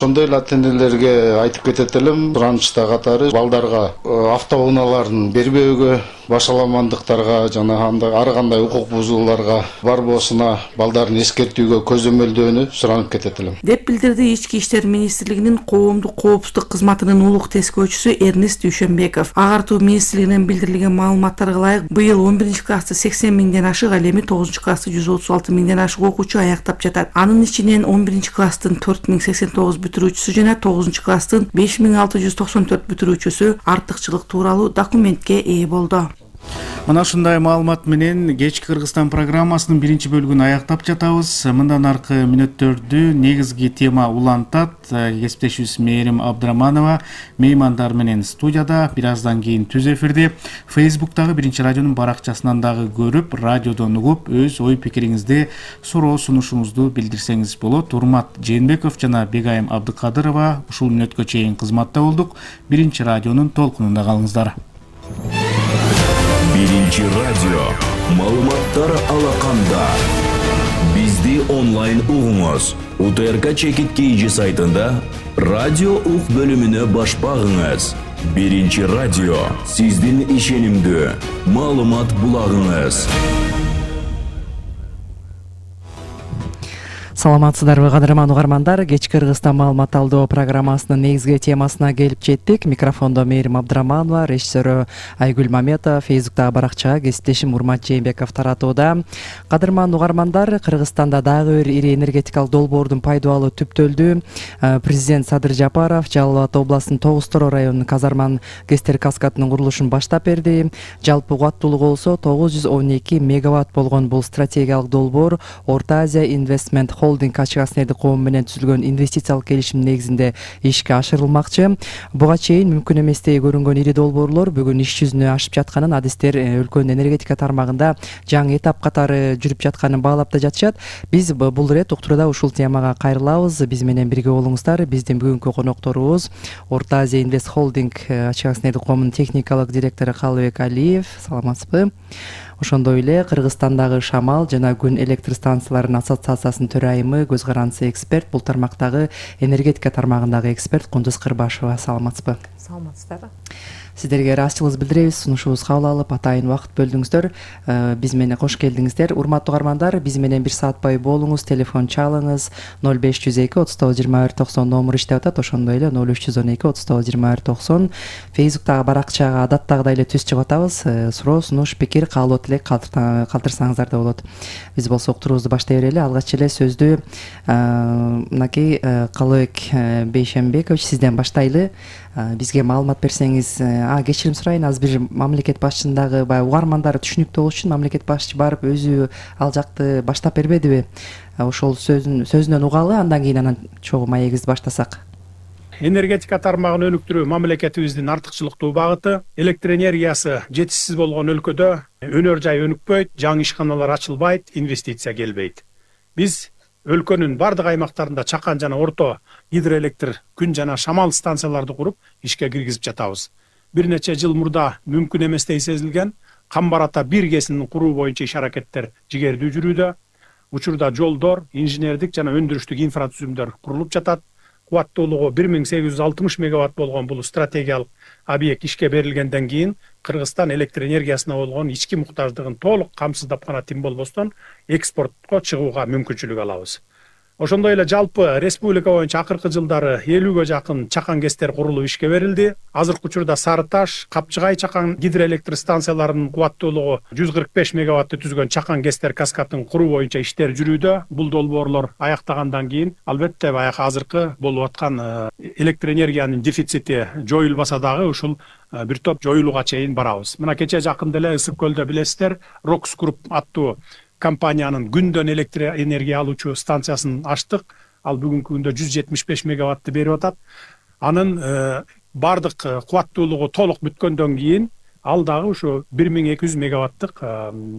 Ошондой эле ата-энелерге айтып кетет элем, суранычта катары балдарга автоунааларын бербөөгө, башаламандыктарга жана ар кандай укук бузууларга барбоосуна балдарын эскертүүгө көзөмөлдөөнү суранып кетет элем, деп билдирди Ички иштер министрлигинин коомдук коопсуздук кызматынын улук тескөөчүсү Эрнест Дүйшөнбеков. Агартуу министрлигинен билдирилген маалыматтарга ылайык, быйыл 11-классты 80 миңден ашык, ал эми 9-классты 136 миңден ашык окуучу аяктап жатат. Анын ичинен 11-класстын 4089 бүтүрүүчүсү жана 9-класстын 5694 бүтүрүүчүсү артыкчылык тууралуу документке ээ болду. Мына ушундай маалымат менен кечки Кыргызстан программасынын биринчи бөлүгүн аяктап жатабыз. Мындан аркы мүнөттөрдү негизги тема улантат. Кесиптешибиз Мээрим Абдыраманова меймандар менен студияда. Бир аздан кийин түз эфирде Facebook'тагы биринчи радионун баракчасынан дагы көрүп, радиодон угуп, өз ой пикириңизди, суроо сунушуңузду билдирсеңиз болот. Урмат Жээнбеков жана Бегайым Абдыкадырова ушул мүнөткө чейин кызматта болдук. Биринчи радионун толкунунда калыңыздар. Биринчи радио маалыматтар алаканда. Бизди онлайн угуңуз. УТРК Чекит KG сайтында радио ук бөлүмүнө баш багыңыз. Биринчи радио сиздин ишенимдүү маалымат булагыңыз. Саламатсыздарбы, кадырман угармандар. Кечки Кыргызстан маалымат алдоо программасынын негизги темасына келип жеттик. Микрофондо Мээрим Абдыраманова, режиссеру Айгүл Маметова, Facebook'тагы баракчага кесиптешим Урмат Жээнбеков таратууда. Кадырман угармандар, Кыргызстанда дагы бир ири энергетикалык долбоордун пайдалуу түптөлдү. Президент Садыр Жапаров Жалал Абад областынын Тогуз-Тороо районунун Казарман ГЭСтер каскадынын курулушун баштап берди. Жалпы кубаттуулугу болсо 912 мегаватт болгон бул стратегиялык долбоор Орто Азия Investment Холдинг ачык коом менен түзүлгөн инвестициялык келишим негизинде ишке ашырылмакчы. Буга чейин мүмкүн эместей көрүнгөн ири долбоорлор бүгүн иш жүзүнө ашып жатканын адистер өлкөнүн энергетика тармагында жаңы этап катары жүрүп жатканын баалап да жатышат. Биз бул ирет уктурууда ушул темага кайрылабыз. Биз менен бирге болуңуздар. Биздин бүгүнкү конокторубуз Орто Азия Инвест Холдинг ачык коомунун техникалык директору Калыбек Алиев. Саламатсызбы? Ошондой эле Кыргызстандагы шамал жана күн электр станцияларынын ассоциациясынын төрайымы, көз карандысы эксперт, бул тармактагы энергетика тармагындагы эксперт Кундуз Кырбашева. Саламатсызбы? Саламатсыздарбы? Сиздерге ыраазычылыгыбызды билдиребиз. Сунушубузга кабыл алып, атайын убакыт бөлдүңүздөр. Биз менен кош келдиңиздер. Урматтуу угармандар, биз менен бир саат бою болуңуз, телефон чалыңыз. 0502 39 21 90 номер иштеп атат. Ошондой эле 0312 39 21 90. Facebook'тагы баракчага адаттагыдай эле түз чыгып атабыз. Суроо, сунуш, пикир, каалоо тилек калтырсаңыздар да болот. Биз болсо уктуруубузду баштай берели. Алгач эле сөздү мынакей Калыбек Бейшенбекович сизден баштайлы. Бизге маалымат берсеңиз, кечирим сурайын, азыр бир мамлекет башчысындагы баягы угармандары түшүнүктүү болуш үчүн мамлекет башчы барып өзү ал жакты баштап бербедиби? Ошол сөзүнөн угалы, андан кийин анан чогуу маегибизди баштасак. Энергетика тармагын өнүктүрүү мамлекетибиздин артыкчылыктуу багыты. Электр энергиясы жетишсиз болгон өлкөдө өнөр жай өнүкпөйт, жаңы ишканалар ачылбайт, инвестиция келбейт. Биз өлкөнүн бардык аймактарында чакан жана орто гидроэлектр, күн жана шамал станцияларды куруп ишке киргизип жатабыз. Бир нече жыл мурда мүмкүн эместей сезилген Камбар ата 1 кесинин куруу боюнча иш аракеттер жигердүү жүрүүдө. Учурда жолдор, инженердик жана өндүрүштүк инфратүзүмдөр курулуп жатат. Кубаттуулугу 1860 мегаватт болгон бул стратегиялык объект ишке берилгенден кийин Кыргызстан электр энергиясына болгон ички муктаждыгын толук камсыздап гана тим болбостон экспортко чыгууга мүмкүнчүлүк алабыз. Ошондой эле жалпы республика боюнча акыркы жылдары 50ге жакын чакан ГЭСтер курулуп ишке берилди. Азыркы учурда Сары Таш, Капчыгай чакан гидроэлектр станцияларынын кубаттуулугу 145 мегаватты түзгөн чакан ГЭСтер каскадын куруу боюнча иштер жүрүүдө. Бул долбоорлор аяктагандан кийин албетте баягы азыркы болуп аткан электр энергиянын дефицити жоюлбаса дагы ушул бир топ жоюлууга чейин барабыз. Мына кече жакында эле Ысык көлдө билесиздер, Рокс Груп аттуу компаниянын күндөн электр энергия алуучу станциясын ачтык. Ал бүгүнкү күндө 175 мегаватты берип атат. Анын бардык кубаттуулугу толук бүткөндөн кийин ал дагы ошо 1200 мегаваттык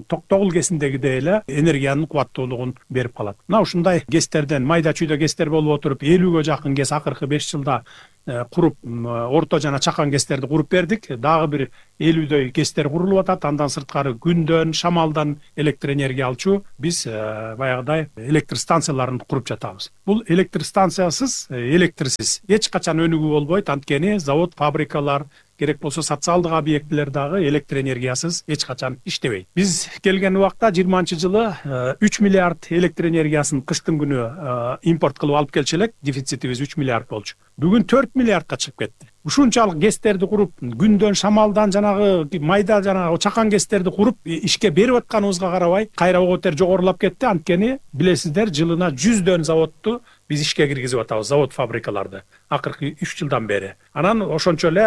токтогул кесиндегидей эле энергиянын кубаттуулугун берип калат. Мына ушундай гэстерден майда чүйдө гэстер болуп отуруп 50ге жакын гэс акыркы 5 жылда куруп, орто жана чакан гэстерди куруп бердик. Дагы бир 50дөй гэстер курулуп атат. Андан сырткары күндөн, шамалдан электр энергия алчу биз баягыдай электр станцияларын куруп жатабыз. Бул электр станциясыз, электрсиз эч качан өнүгүү болбойт. Анткени завод, фабрикалар, керек болсо социалдык объектилер дагы электр энергиясыз эч качан иштебейт. Биз келген убакта 20-жылы 3 миллиард электр энергиясын кыштын күнү импорт кылып алып келчү элек, дефицитибиз 3 миллиард болчу. Бүгүн 4 миллиардка чыгып кетти. Ушунчалык гэстерди куруп, күндөн, шамалдан жанагы майда жанагы чакан гэстерди куруп ишке берип атканыбызга карабай, кайра оготер жогорулап кетти. Анткени билесиздер, жылына 100 заводду биз ишке киргизип атабыз, завод, фабрикаларды акыркы 3 жылдан бери. Анан ошончо эле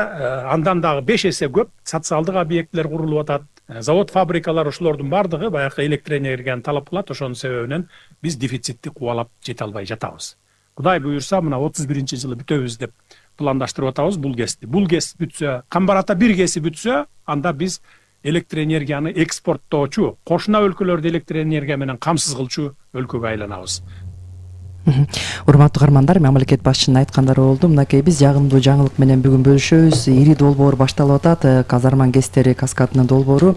андан дагы 5 эсе көп социалдык объектилер курулуп атат. Завод, фабрикалар ошолордун бардыгы баягы электр энергияны талап кылат. Ошонун себебинен биз дефицитти кубалап жете албай жатабыз. Кудай буюрса, мына 31-жылы бүтөбүз деп пландаштырып атабыз бул гэсти. Бул гэс бүтсө, Камбарата бир гэси бүтсө, анда биз электр энергияны экспорттоочу, кошуна өлкөлөрдү электр энергия менен камсыз кылчу өлкөгө айланабыз. Урматтуу угармандар, мамлекет башчынын айткандары болду. Мынакей биз жагымдуу жаңылык менен бүгүн бөлүшөбүз. Ири долбоор башталып атат. Казарман гэстери каскадынын долбоору.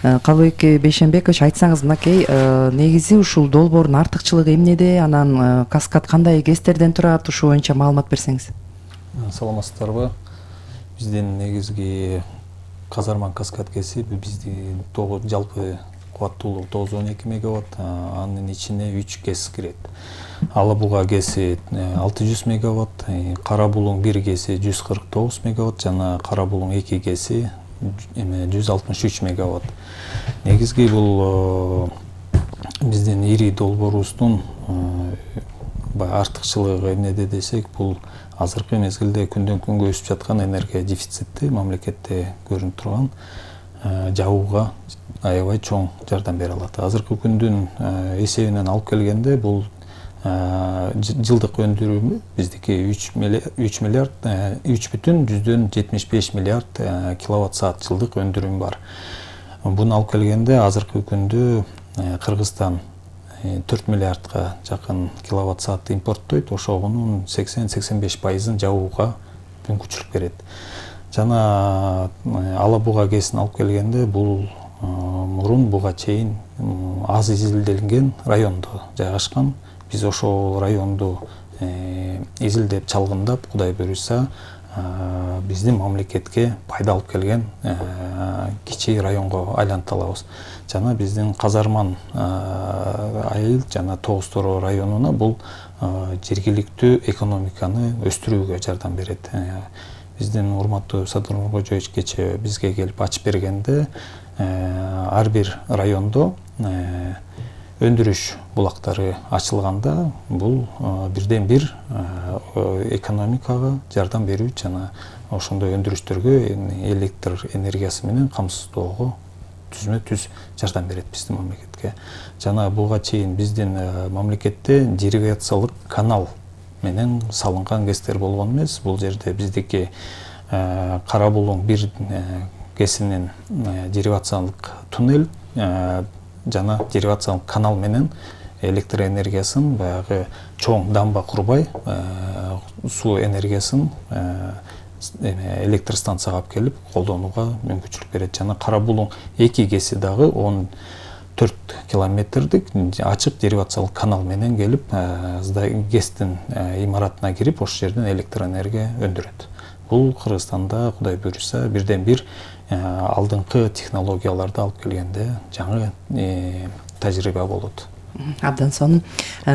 Калыбек Бейшенбекович, айтсаңыз, мынакей негизи ушул долбоордун артыкчылыгы эмнеде? Анан каскад кандай гэстерден турат? Ушул боюнча маалымат берсеңиз. Саламатсыздарбы? Биздин негизги Казарман каскад гэси биздин жалпы кубаттуулугу 912 мегаватт, анын ичине 3 гэс кирет. Ала Буга гэси 600 мегаватт, Кара Булуң 1 гэси 149 мегаватт жана Кара Булуң 2 гэси 163 мегаватт. Негизги бул биздин ири долбоорубуздун артыкчылыгы эмнеде десек, бул азыркы мезгилде күндөн күнгө өсүп жаткан энергия дефицити мамлекетте көрүнүп турган жабууга аябай чоң жардам бере алат. Азыркы күндүн эсебинен алып келгенде бул жылдык өндүрүмү биздики 3,75 миллиард киловатт саат жылдык өндүрүм бар. Буну алып келгенде азыркы күндө Кыргызстан 4 миллиардка жакын киловатт саат импорттойт. Ошонун 80-85%ын жабууга мүмкүнчүлүк берет. Жана Ала Буга гэсин алып келгенде бул мурун буга чейин аз изилделген райондо жайгашкан. Биз ошол районду изилдеп чалгындап, Кудай буюрса, биздин мамлекетке пайда алып келген кичи районго айлантып алабыз. Жана биздин Казарман айыл жана Тогуз Тороо районуна бул жергиликтүү экономиканы өстүрүүгө жардам берет. Биздин урматтуу Садыр Нуркожоевич кечээ бизге келип ачып бергенде, ар бир райондо өндүрүш булактары ачылганда бул бирден бир экономикага жардам берүү жана ошондой өндүрүштөргө электр энергиясы менен камсыздоого түзмө-түз жардам берет биздин мамлекетке. Жана буга чейин биздин мамлекетте деривациялык канал менен салынган гэстер болгон эмес. Бул жерде биздики Кара Булуң 1 гэсинин деривациялык туннель жана деривациялык канал менен электр энергиясын баягы чоң дамба курбай суу энергиясын электр станцияга алып келип колдонууга мүмкүнчүлүк берет. Жана Кара Булуң 2 гэси дагы 14 километрдик ачык деривациялык канал менен келип гэстин имаратына кирип ошол жерден электр энергия өндүрөт. Бул Кыргызстанда Кудай буюрса бирден бир алдыңкы технологияларды алып келгенде жаңы тажрыйба болот. Абдан сонун.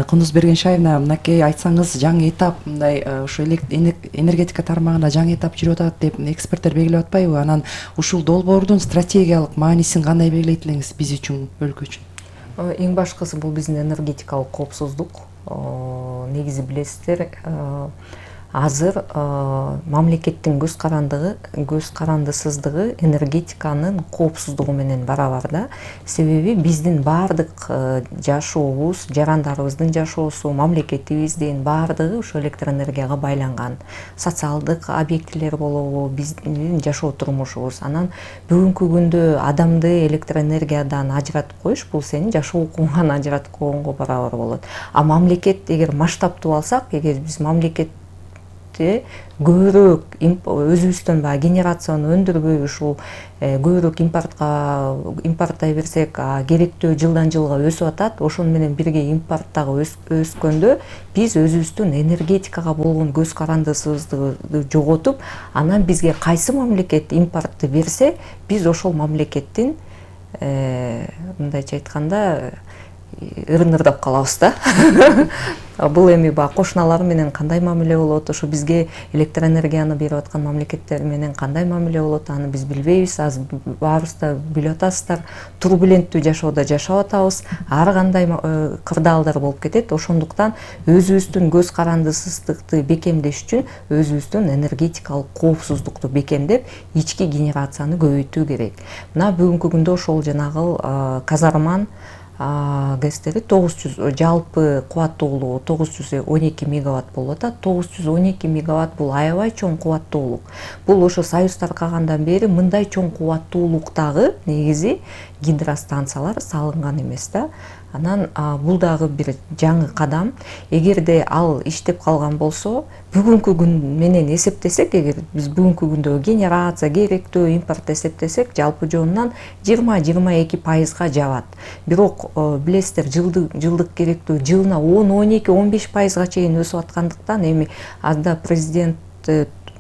Кундуз Бергеншаевна, мынакей айтсаңыз, жаңы этап мындай ушу энергетика тармагында жаңы этап жүрүп атат деп эксперттер белгилеп атпайбы? Анан ушул долбоордун стратегиялык маанисин кандай белгилейт элеңиз биз үчүн, өлкө үчүн? Эң башкысы бул биздин энергетикалык коопсуздук. Негизи билесиздер, азыр мамлекеттин көз карандысыздыгы энергетиканын коопсуздугу менен барабар да. Себеби биздин баардык жашообуз, жарандарыбыздын жашоосу, мамлекетибиздин баардыгы ошо электроэнергияга байланган. Социалдык объектилер болобу, биздин жашоо турмушубуз. Анан бүгүнкү күндө адамды электроэнергиядан ажыратып коюш бул сенин жашоо укугуңан ажыратып койгонго барабар болот. А мамлекет эгер масштабтуу алсак, эгер биз мамлекет көбүрөөк өзүбүздөн баягы генерацияны өндүрбөй ушул көбүрөөк импорттой берсек, керектөө жылдан жылга өсүп атат. Ошону менен бирге импорт дагы өскөндө биз өзүбүздүн энергетикага болгон көз карандысыбызды жоготуп, анан бизге кайсы мамлекет импортты берсе, биз ошол мамлекеттин мындайча айтканда ырын-ырдап калабыз да. Бул эми баягы кошуналар менен кандай мамиле болот, ошо бизге электроэнергияны берип аткан мамлекеттер менен кандай мамиле болот, аны биз билбейбиз. Азыр баарыбыз да билип атасыздар, турбуленттүү жашоодо жашап атабыз. Ар кандай кырдаалдар болуп кетет. Ошондуктан өзүбүздүн көз карандысыздыкты бекемдеш үчүн өзүбүздүн энергетикалык коопсуздукту бекемдеп, ички генерацияны көбөйтүү керек. Мына бүгүнкү күндө ошол жанагы Казарман ГЭСтери 900 жалпы кубаттуулугу 912 мегаватт болуп атат. 912 мегаватт бул аябай чоң кубаттуулук. Бул ошо Союз таркагандан бери мындай чоң кубаттуулуктагы негизи гидростанциялар салынган эмес да. Анан бул дагы бир жаңы кадам. Эгерде ал иштеп калган болсо, бүгүнкү күн менен эсептесек, эгер биз бүгүнкү күндө генерация, керектөө импорт эсептесек, жалпы жонунан 20-22% жабат. Бирок билесиздер, жылдык керектөө жылына 10-12-15% чейин өсүп аткандыктан эми анда президент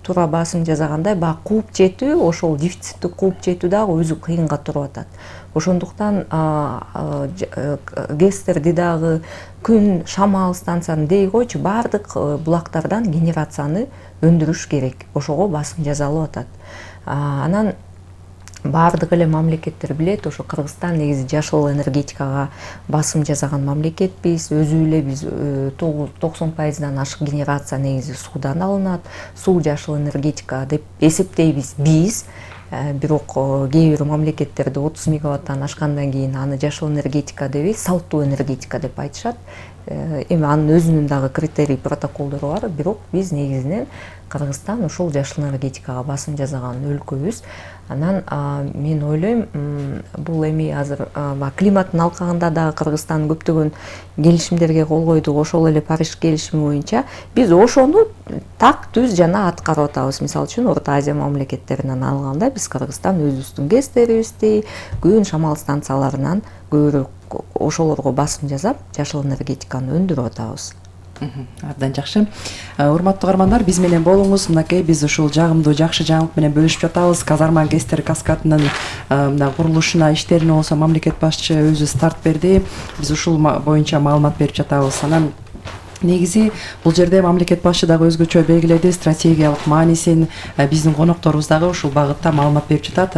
туура басым жасагандай, баягы кууп жетүү, ошол дефицитти кууп жетүү дагы өзү кыйынга туруп атат. Ошондуктан ГЭСтерди дагы күн, шамал станцияны дей койчу, баардык булактардан генерацияны өндүрүш керек. Ошого басым жасалып атат. Анан баардык эле мамлекеттер билет, ошо Кыргызстан негизи жашыл энергетикага басым жасаган мамлекетпиз. Өзү эле биз 90%дан ашык генерация негизи суудан алынат. Суу жашыл энергетика деп эсептейбиз биз. Бирок кээ бир мамлекеттерде 30 мегаваттан ашкандан кийин аны жашыл энергетика дебей, салттуу энергетика деп айтышат. Эми анын өзүнүн дагы критерий, протоколдору бар. Бирок биз негизинен Кыргызстан ушул жашыл энергетикага басым жасаган өлкөбүз. Анан мен ойлойм, бул эми азыр климаттын алкагында дагы Кыргызстан көптөгөн келишимдерге кол койду. Ошол эле Париж келишими боюнча биз ошону так түз жана аткарып атабыз. Мисалы үчүн Орто Азия мамлекеттеринен алганда биз Кыргызстан өзүбүздүн ГЭСтерибизди, күн, шамал станцияларынан көбүрөөк ошолорго басым жасап, жашыл энергетиканы өндүрүп атабыз. Абдан жакшы. Урматтуу угармандар, биз менен болуңуз. Мынакей биз ушул жагымдуу жакшы жаңылык менен бөлүшүп жатабыз. Казарман ГЭСтер каскадынын курулушуна иштерине болсо мамлекет башчы өзү старт берди. Биз ушул боюнча маалымат берип жатабыз. Анан негизи бул жерде мамлекет башчы дагы өзгөчө белгиледи, стратегиялык маанисин. Биздин конокторубуз дагы ушул багытта маалымат берип жатат.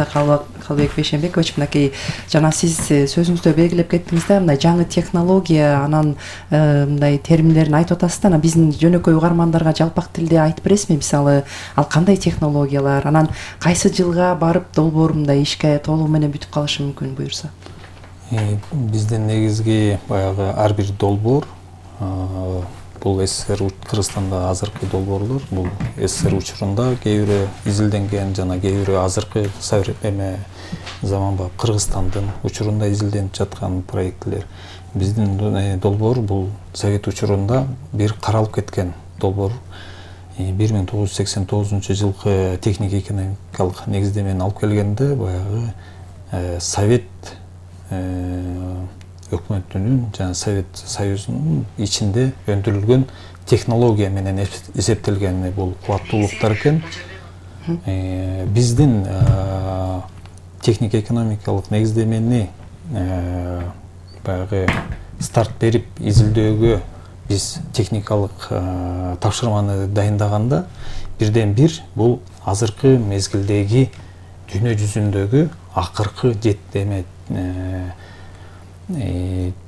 Калыбек Бейшенбекович, мынакей жана сиз сөзүңүздө белгилеп кеттиңиз да, мындай жаңы технология, анан мындай терминдерин айтып атасыз да, анан биздин жөнөкөй угармандарга жалпак тилде айтып бересизби? Мисалы, ал кандай технологиялар, анан кайсы жылга барып долбоор мындай ишке толугу менен бүтүп калышы мүмкүн буюрса? Биздин негизги баягы ар бир долбоор бул СССР Кыргызстанда азыркы долбоорлор, бул СССР учурунда кээ бири изилденген жана кээ бири азыркы заманбап Кыргызстандын учурунда изилденип жаткан проектилер. Биздин долбоор бул Совет учурунда бир каралып кеткен долбоор. 1989 жылкы техник-экономикалык негиздемени алып келгенде баягы Совет өкмөтүнүн жана Совет Союзунун ичинде өндүрүлгөн технология менен эсептелген бул кубаттуулуктар экен. Биздин техник-экономикалык негиздемени баягы старт берип изилдөөгө биз техникалык тапшырманы дайындаганда бирден бир бул азыркы мезгилдеги дүйнө жүзүндөгү акыркы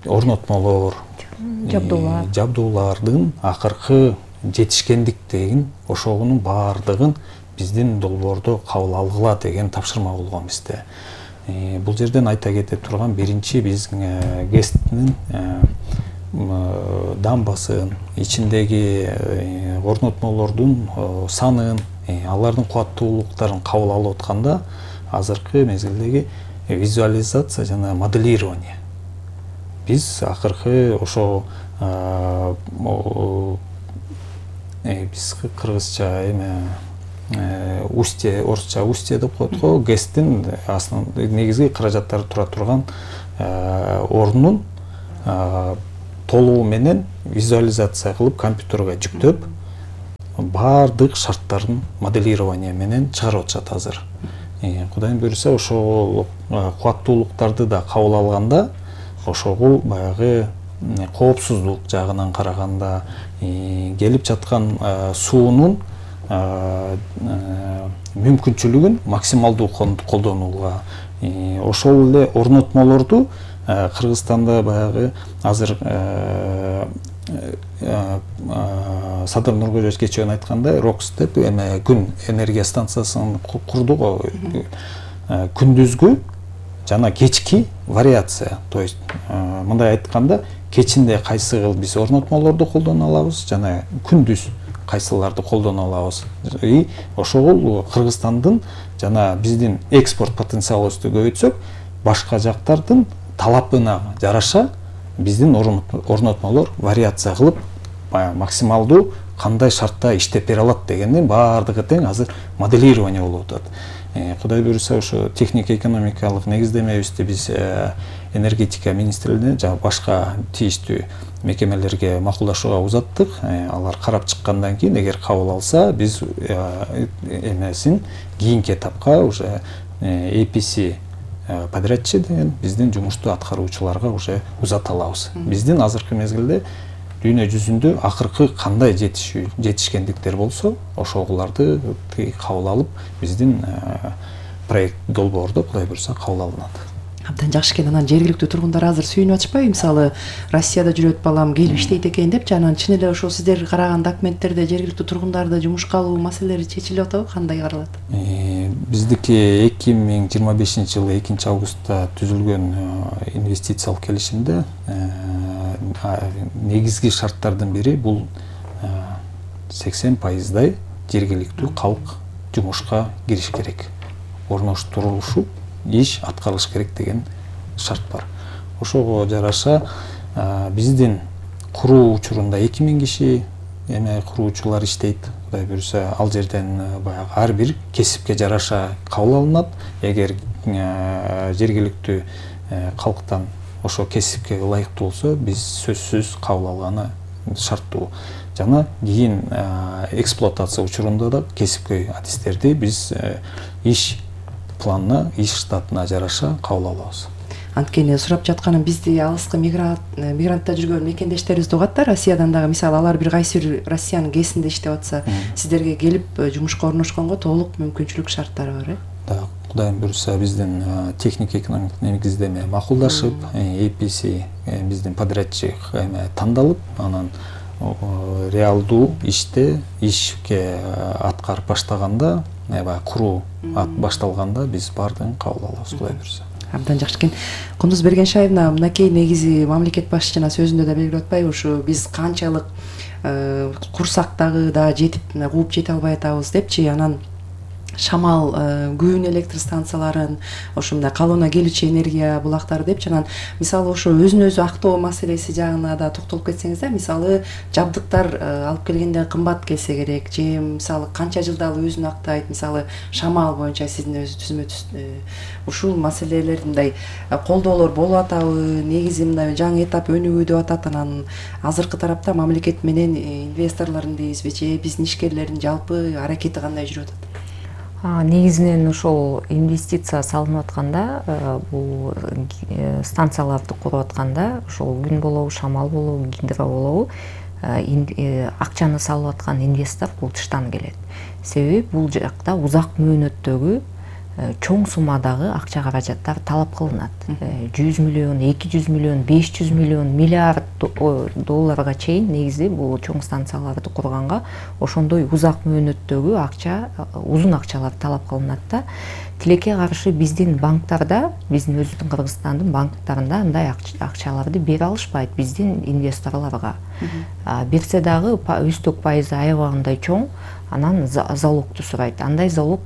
орнотмолор, жабдуулардын акыркы жетишкендик деген ошонун баардыгын биздин долбоордо кабыл алгыла деген тапшырма болгон бизде. Бул жерден айта кетип турган биринчи биз ГЭСТин дамбасын, ичиндеги орнотмолордун санын, алардын кубаттуулуктарын кабыл алып атканда азыркы мезгилдеги визуализация жана моделирование. Биз акыркы ошо биз кыргызча устье, орусча устье деп коет го, ГЭСТин негизги каражаттары тура турган ордунун толугу менен визуализация кылып компьютерге жүктөп баардык шарттарын моделирование менен чыгарып атышат азыр. Кудайым буйруса ошол кубаттуулуктарды да кабыл алганда ошогул баягы коопсуздук жагынан караганда келип жаткан суунун мүмкүнчүлүгүн максималдуу колдонууга, ошол эле орнотмолорду Кыргызстанда баягы азыр Садыр Нуркожоевич кечээ айткандай РОКС деп күн энергия станциясын курду го. Күндүзгү жана кечки вариация. То есть мындай айтканда кечинде кайсы кыл биз орнотмолорду колдоно алабыз жана күндүз кайсыларды колдоно алабыз. Ошол Кыргызстандын жана биздин экспорт потенциалыбызды көбөйтсөк, башка жактардын талабына жараша биздин орнотмолор вариация кылып максималдуу кандай шартта иштеп бере алат дегендин баардыгы тең азыр моделирование болуп атат. Кудай буйруса ошо техника экономикалык негиздемебизди биз энергетика министрлигине жана башка тийиштүү мекемелерге макулдашууга узаттык. Алар карап чыккандан кийин эгер кабыл алса биз эмесин кийинки этапка уже APC подрядчы деген биздин жумушту аткаруучуларга уже узата алабыз. Биздин азыркы мезгилде дүйнө жүзүндө акыркы кандай жетишкендиктер болсо ошоларды кабыл алып биздин проект долбоордо Кудай буйруса кабыл алынат. Абдан жакшы экен. Анан жергиликтүү тургундар азыр сүйүнүп атышпайбы? Мисалы, Россияда жүрөт балам келип иштейт экен деп, жана чын эле ошол сиздер караган документтерде жергиликтүү тургундарды жумушка алуу маселелери чечилип атабы? Кандай каралат? Биздики 2025-жылы 2-августта түзүлгөн инвестициялык келишимде негизги шарттардын бири бул 80% жергиликтүү калк жумушка кириш керек. Орноштурулушу иш аткарылыш керек деген шарт бар. Ошого жараша биздин куруу учурунда 2000 киши куруучулар иштейт. Кудай буйруса ал жерден баягы ар бир кесипке жараша кабыл алынат. Эгер жергиликтүү калктан ошо кесипке ылайыктуу болсо, биз сөзсүз кабыл алганы шарттуу. Жана кийин эксплуатация учурунда да кесипкөй адистерди биз иш планына, иш штатына жараша кабыл алабыз. Анткени сурап жатканым бизди алыскы мигрантта жүргөн мекендештерибизди угат да, Россиядан дагы мисалы алар бир кайсы бир Россиянын ГЭСинде иштеп атса, сиздерге келип жумушка орношконго толук мүмкүнчүлүк шарттары бар, Да, Кудайым буйруса биздин техника экономик негиздеме макулдашып, APC биздин подрядчик тандалып, анан реалдуу ишке аткарып баштаганда, куруу башталганда биз баардыгын кабыл алабыз, Кудай буйруса. Абдан жакшы экен. Кундуз Бергеншаевна, мынакей негизи мамлекет башчысына сөзүндө да белгилеп атпайбы, ушу биз канчалык курсак дагы да жетип кууп жете албай атабыз депчи, анан шамал күн электр станцияларын, ошо мындай калыбына келүүчү энергия булактары депчи, анан мисалы ошо өзүн өзү актоо маселеси жагына да токтолуп кетсеңиз да, мисалы жабдыктар алып келгенде кымбат келсе керек, же мисалы канча жылда ал өзүн актайт, мисалы шамал боюнча сиздин өзү түзмө ушул маселелер мындай колдоолор болуп атабы, негизи мындай жаңы этап өнүгүү деп атат, анан азыркы тарапта мамлекет менен инвесторлордун дейбизби, же биздин ишкерлердин жалпы аракети кандай жүрүп атат? Негизинен ошол инвестиция салынып атканда, бул станцияларды куруп атканда, ошол күн болобу, шамал болобу, гидро болобу, акчаны салып аткан инвестор бул тыштан келет. Себеби бул жакта узак мөөнөттөгү чоң суммадагы акча каражаттар талап кылынат. 100 миллион, 200 миллион, 500 миллион, миллиард долларга чейин негизи бул чоң станцияларды курганга ошондой узак мөөнөттөгү акча, узун акчалар талап кылынат да. Тилекке каршы биздин банктарда, биздин өзүбүздүн Кыргызстандын банктарында андай акчаларды бере алышпайт биздин инвесторлорго. Берсе дагы үстөк пайызы аябагандай чоң, анан залогду сурайт. Андай залог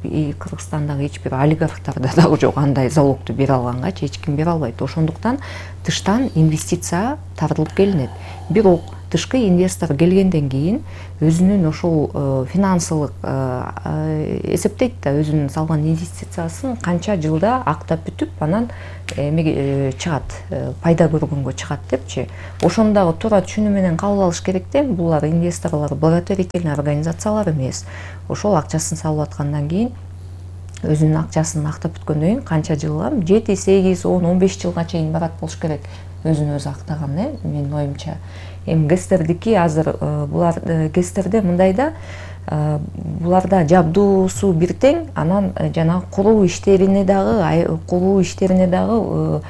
Кыргызстандагы эч бир олигархтарда дагы жок, андай залогду бере алганга эч ким бере албайт. Ошондуктан тыштан инвестиция тартылып келинет. Бирок тышкы инвестор келгенден кийин өзүнүн ошол финансылык эсептейт да, өзүнүн салган инвестициясын канча жылда актап бүтүп, анан чыгат, пайда көргөнгө чыгат депчи. Ошону дагы туура түшүнүү менен кабыл алыш керек да, булар инвесторлор благотворительный организациялар эмес. Ошол акчасын салып аткандан кийин өзүнүн акчасын актап бүткөндөн кийин канча жылга, 7, 8, 10, 15 жылга чейин барат болуш керек өзүн өзү актаган, менин оюмча. Эми ГЭСтердики азыр булар ГЭСтерде мындай да, буларда жабдуусу бир тең, анан жанагы куруу иштерине дагы,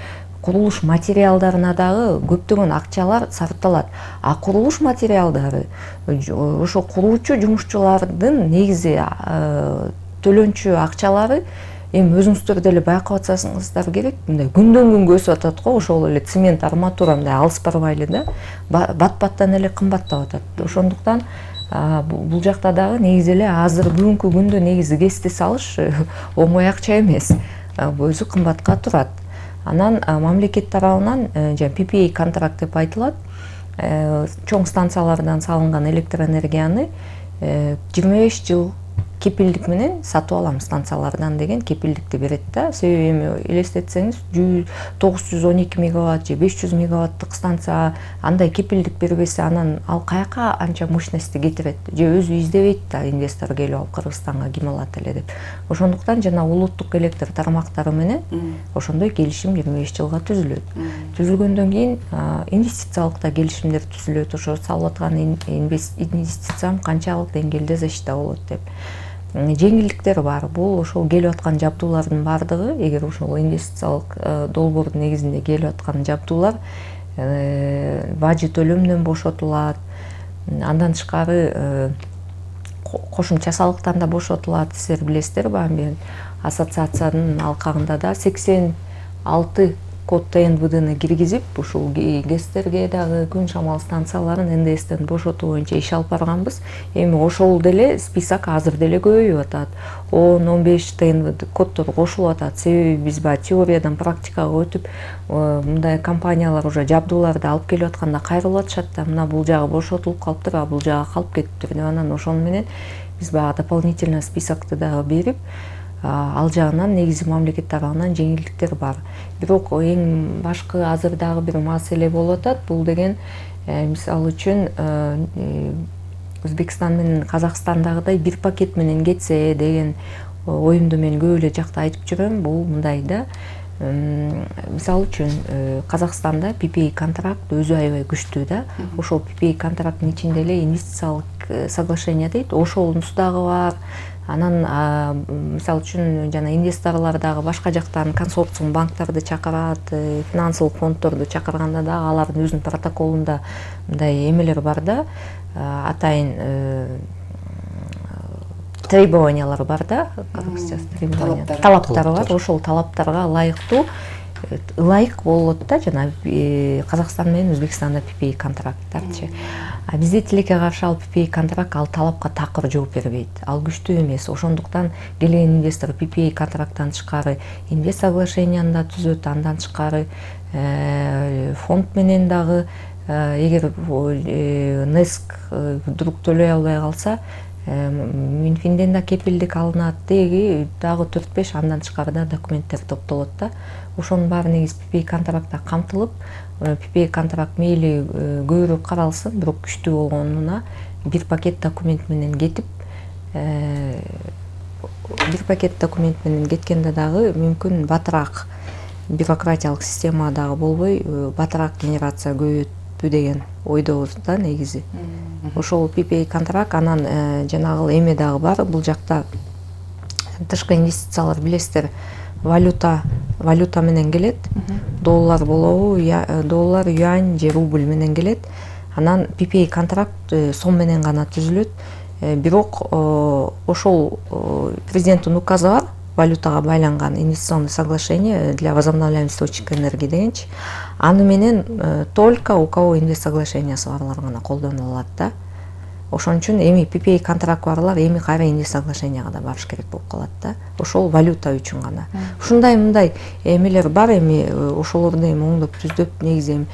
курулуш материалдарына дагы көптөгөн акчалар сарпталат. А курулуш материалдары ошо куруучу жумушчулардын негизи төлөнчү акчалары эми өзүңүздөр деле байкап атсаңыздар керек, мындай күндөн күнгө өсүп атат го, ошол эле цемент, арматура мындай алыс барбайлы да, бат-баттан эле кымбаттап атат. Ошондуктан бул жакта дагы негизи эле азыр бүгүнкү күндө негизи ГЭСти салыш оңой акча эмес, өзү кымбатка турат. Анан мамлекет тарабынан PPA контракт деп айтылат, чоң станциялардан салынган электроэнергияны 25 жыл кепилдик менен сатып алам станциялардан деген кепилдикти берет да. Себеби эми элестетсеңиз 912 мегаватт же 500 мегаваттык станция андай кепилдик бербесе, анан ал каяка анча мощностьти кетирет, же өзү издебейт да инвестор келип алып Кыргызстанга ким алат эле деп. Ошондуктан жана улуттук электр тармактары менен ошондой келишим 25 жылга түзүлөт. Түзүлгөндөн кийин инвестициялык да келишимдер түзүлөт. Ошо салып аткан инвестициям канчалык деңгээлде защита болот деп. Жеңилдиктер бар. Бул ошол келип аткан жабдуулардын бардыгы, эгер ошол инвестициялык долбоордун негизинде келип аткан жабдуулар бажы төлөмдөн бошотулат. Андан тышкары кошумча салыктан да бошотулат. Силер билесиздер баары, ассоциациянын алкагында да 86 код ТНВДны киргизип, ушул ГЭСтерге дагы күн шамал станцияларын НДСтен бошотуу боюнча иш алып барганбыз. Эми ошол деле список азыр деле көбөйүп атат. 10-15 ТНВД коддор кошулуп атат. Себеби биз теориядан практикага өтүп, мындай компаниялар уже жабдууларды алып келип атканда кайрылып атышат да, мына бул жагы бошотулуп калыптыр, а бул жагы калып кетиптир деп, анан ошону менен биз баягы дополнительный списокты дагы берип, ал жагынан негизи мамлекет тарабынан жеңилдиктер бар. Бирок эң башкы азыр дагы бир маселе болуп атат. Бул деген мисалы үчүн Өзбекстан менен Казакстандагыдай бир пакет менен кетсе деген оюмду мен көп эле жакта айтып жүрөм. Бул мындай да, мисалы үчүн Казакстанда PPA контракт өзү аябай күчтүү да. Ошол PPA контракттын ичинде эле инвестициялык соглашение дейт, ошонусу дагы бар. Анан мисалы үчүн жана инвесторлор дагы башка жактан консорциум банктарды чакырат, финансылык фонддорду чакырганда дагы алардын өзүнүн протоколунда мындай эмелер бар да, атайын требованиялар бар да, талаптар бар. Ошол талаптарга ылайык болот да, жана Казакстан менен Өзбекстанда PPA контракттарчы. А бизде тилекке каршы ал PPA контракт ал талапка такыр жооп бербейт. Ал күчтүү эмес. Ошондуктан келген инвестор PPA контракттан тышкары инвест соглашенияны да түзөт, андан тышкары фонд менен дагы эгер НЭСК вдруг төлөй албай калса, Минфинден да кепилдик алынат, деги дагы 4-5 андан тышкары да документтер топтолот да. Ошонун баары негизи PPA контрактта камтылып, PPA контракт мейли көбүрөөк каралсын, бирок күчтүү болгонуна бир пакет документ менен кетип, бир пакет документ менен кеткенде дагы мүмкүн батыраак бюрократиялык система дагы болбой, батыраак генерация көбөйөтпү деген ойдобуз да негизи. Ошол PPA контракт, анан жанагы эме дагы бар, бул жакта тышкы инвестициялар билесиздер, валюта менен келет. Доллар болобу, доллар, юань же рубль менен келет. Анан PPA контракт сом менен гана түзүлөт. Бирок ошол президенттин указы бар, валютага байланган инвестиционный соглашение для возобновляемых источников энергии дегенчи. Аны менен только у кого инвест-соглашениясы барлар гана колдоно алат да. Ошон үчүн эми PPA контракт барлар эми кайра инвест-соглашенияга да барыш керек болуп калат да. Ошол валюта үчүн гана. Ушундай эмелер бар, эми ошолорду эми оңдоп түздөп, негизи эми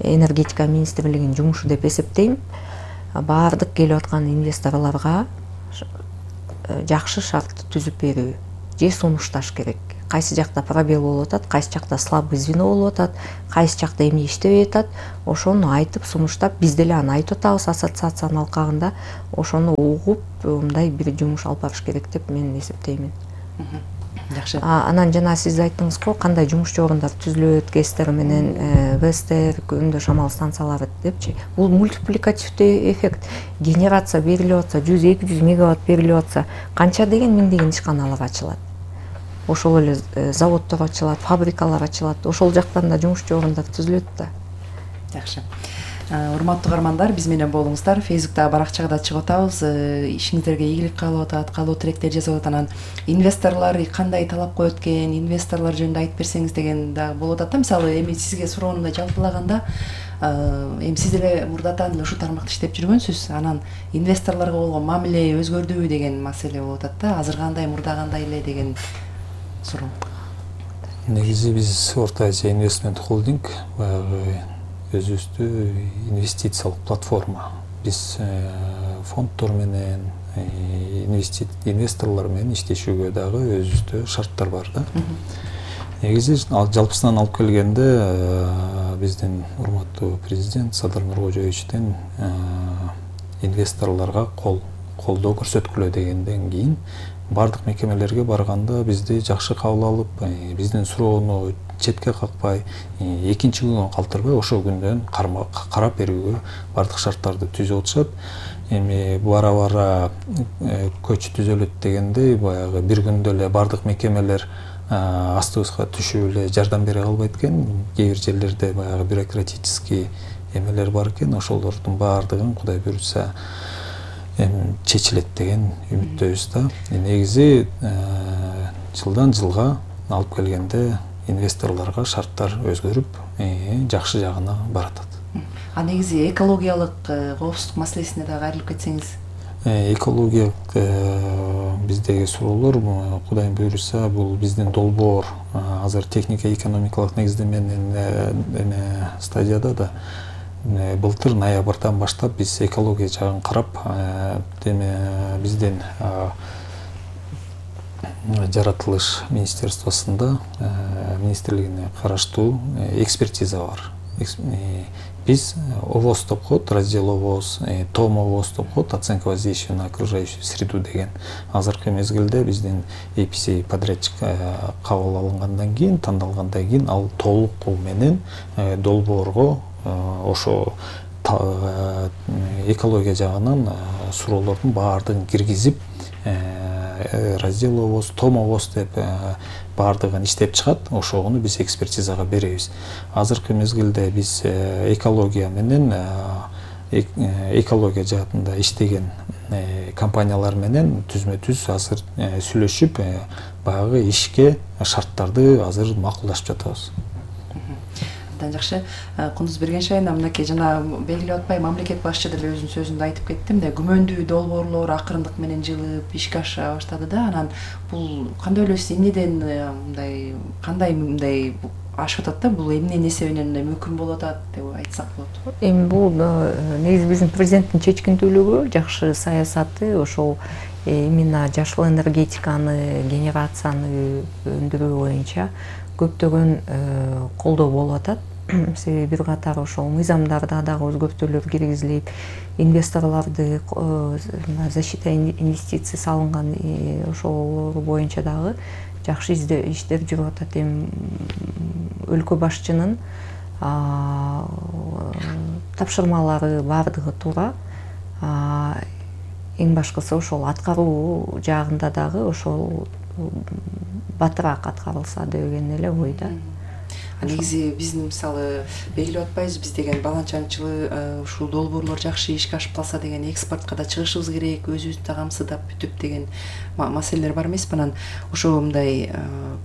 энергетика министрлигинин жумушу деп эсептейм. Баардык келип аткан инвесторлорго жакшы шарт түзүп берүү же сунушташ керек. Кайсы жакта пробел болуп атат, кайсы жакта слабый звено болуп атат, кайсы жакта эмне иштебей атат, ошону айтып сунуштап, биз деле аны айтып атабыз ассоциациянын алкагында, ошону угуп, мындай бир жумуш алып барыш керек деп мен эсептеймин. Жакшы. Анан жана сиз айттыңыз го, кандай жумушчу орундар түзүлөт, ГЭСтер менен ВЭСтер, өндө шамал станциялары депчи. Бул мультипликативдүү эффект. Генерация берилип атса, 100-200 мегаватт берилип атса, канча деген миңдеген ишканалар ачылат. Ошол эле заводдор ачылат, фабрикалар ачылат. Ошол жактан да жумушчу орундар түзүлөт да. Жакшы. Урматтуу угармандар, биз менен болуңуздар. Фейсбуктагы баракчага да чыгып атабыз. Ишиңиздерге ийгилик каалап атат, каалоо тилектер жазып атат. Анан инвесторлор кандай талап коет экен, инвесторлор жөнүндө айтып берсеңиз деген да болуп атат да. Мисалы, эми сизге суроонумда жалпылаганда, эми сиз деле мурдатан ушу тармакта иштеп жүргөнсүз. Анан инвесторлорго болгон мамиле өзгөрдүбү деген маселе болуп атат да. Азыр кандай, мурда кандай эле деген суроо. Негизи биз Орто Азия инвестмент холдинг баягы өзүбүздү инвестициялык платформа. Биз фонддор менен, инвесторлор менен иштешүүгө дагы өзүбүздө шарттар бар да. Негизи жалпысынан алып келгенде биздин урматтуу президент Садыр Нуркожоевичтен инвесторлорго колдоо көрсөткүлө дегенден кийин бардык мекемелерге барганда бизди жакшы кабыл алып, биздин суроону четке какпай, экинчи күнгө калтырбай ошол күндөн карап берүүгө бардык шарттарды түзүп атышат. Эми бара көч түзөлөт дегенде баягы бир күндө эле бардык мекемелер астыбызга түшүп эле жардам бере калбайт экен. Кээ бир жерлерде баягы бюрократический эмелер бар экен. Ошолордун баардыгын Кудай буйрса чечилет деген үмүттөбүз да. Негизи жылдан жылга алып келгенде инвесторлорго шарттар өзгөрүп, жакшы жагына баратат. Негизи экологиялык коопсуздук маселесине дагы кайрылып кетсеңиз. Экологиялык биздеги суроолор Кудайым буйруса бул биздин долбоор азыр техника экономикалык негиздеменин стадияда да. Былтыр ноябрдан баштап биз экология жагын карап, биздин жаратылыш министерствосунда министрлигине караштуу экспертиза бар. Биз ОВОЗ деп коет, раздел ОВОЗ, ТОМ ОВОЗ деп коет, оценка воздействия на окружающую среду деген. Азыркы мезгилде биздин EPC подрядчик кабыл алынгандан кийин, тандалгандан кийин ал толук менен долбоорго ошо экология жагынан суроолордун баардыгын киргизип, раздел ОВОЗ, ТОМ ОВОЗ деп баардыгын иштеп чыгат. Ошону биз экспертизага беребиз. Азыркы мезгилде биз экология менен экология жаатында иштеген компаниялар менен түзмө-түз азыр сүйлөшүп, баягы ишке шарттарды азыр макулдашып жатабыз. Жакшы. Кундуз Бергеншаевна, мынакей жана белгилеп атпай, мамлекет башчы деле өзүнүн сөзүндө айтып кетти, мындай күмөндүү долбоорлор акырындык менен жылып, ишке аша баштады да. Анан бул кандай ойлойсуз, эмнеден мындай, кандай мындай ашып атат да, бул эмненин эсебинен мындай мүмкүн болуп атат деп айтсак болот? Эми бул негизи биздин президенттин чечкиндүүлүгү, жакшы саясаты, ошол именно жашыл энергетиканы, генерацияны өндүрүү боюнча көптөгөн колдоо болуп атат. Себеби бир катар ошол мыйзамдарда дагы өзгөртүүлөр киргизилип, инвесторлорду защита инвестиций салынган ошол боюнча дагы жакшы иштер жүрүп атат. Эми өлкө башчынын тапшырмалары баардыгы туура. Эң башкысы ошол аткаруу жагында дагы ошол батыраак аткарылса деген эле ойда. Негизи биздин мисалы белгилеп атпайбыз, биз деген баланчанчылы ушул долбоорлор жакшы ишке ашып калса деген экспортко да чыгышыбыз керек, өзүбүздү да камсыздап бүтүп деген маселелер бар эмеспи? Анан ошо мындай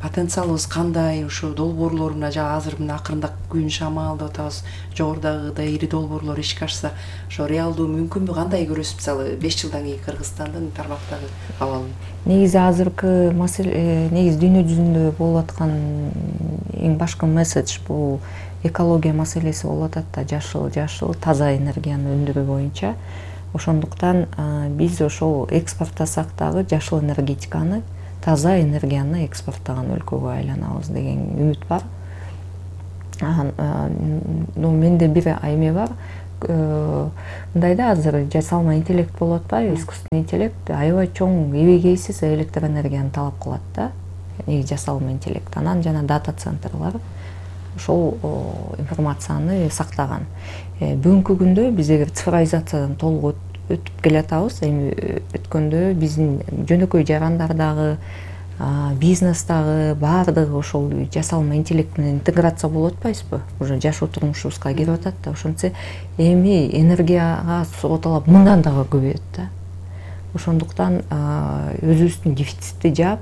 потенциалыбыз кандай, ошо долбоорлоруна азыр мына акырында күн шамал деп атабыз, жогорудагыдай ири долбоорлор ишке ашса, ошо реалдуу мүмкүнбү, кандай көрөсүз мисалы 5 жылдан кийин Кыргызстандын тармактагы абалын? Негизи азыркы маселе, негизи дүйнө жүзүндө болуп аткан эң башкы месседж бул экология маселеси болуп атат да, жашыл таза энергияны өндүрүү боюнча. Ошондуктан биз ошол экспорттасак дагы жашыл энергетиканы, таза энергияны экспорттаган өлкөгө айланабыз деген үмүт бар. Менде бир эме бар. Мындай да, азыр жасалма интеллект болуп атпайбы, искусственный интеллект аябай чоң эбегейсиз электроэнергияны талап кылат да. Жасалма интеллект, анан жана дата центрлар ошол информацияны сактаган. Бүгүнкү күндө биз эгер цифровизациядан толук өтүп келатабыз, эми өткөндө биздин жөнөкөй жарандардагы, бизнестагы баардыгы ошол жасалма интеллект менен интеграция болуп атпайбызбы? Уже жашоо турмушубузга кирип атат да. Ошентсе эми энергияга суроо талап мындан дагы көбөйөт да. Ошондуктан өзүбүздүн дефицитти жаап,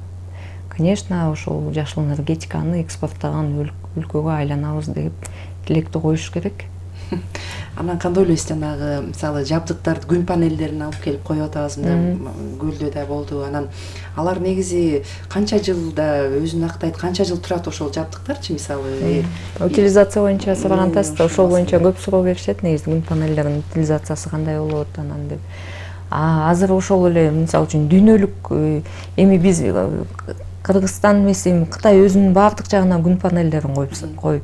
конечно, ошол жашыл энергетиканы экспорттаган өлкөгө айланабыз деп тилекти коюш керек. Анан кандай ойлойсуз, жанагы мисалы жабдыктарды, күн панелдерин алып келип коюп атабыз, мына көлдө да болду. Анан алар негизи канча жылда өзүн актайт, канча жыл турат ошол жабдыктарчы, мисалы? Утилизация боюнча сурагандасыз да, ошол боюнча көп суроо беришет, негизи күн панелдеринин утилизациясы кандай болот анан деп. Азыр ошол эле мисалы үчүн дүйнөлүк эми биз Кыргызстан эмес, эми Кытай өзүнүн баардык жагынан күн панелдерин коюп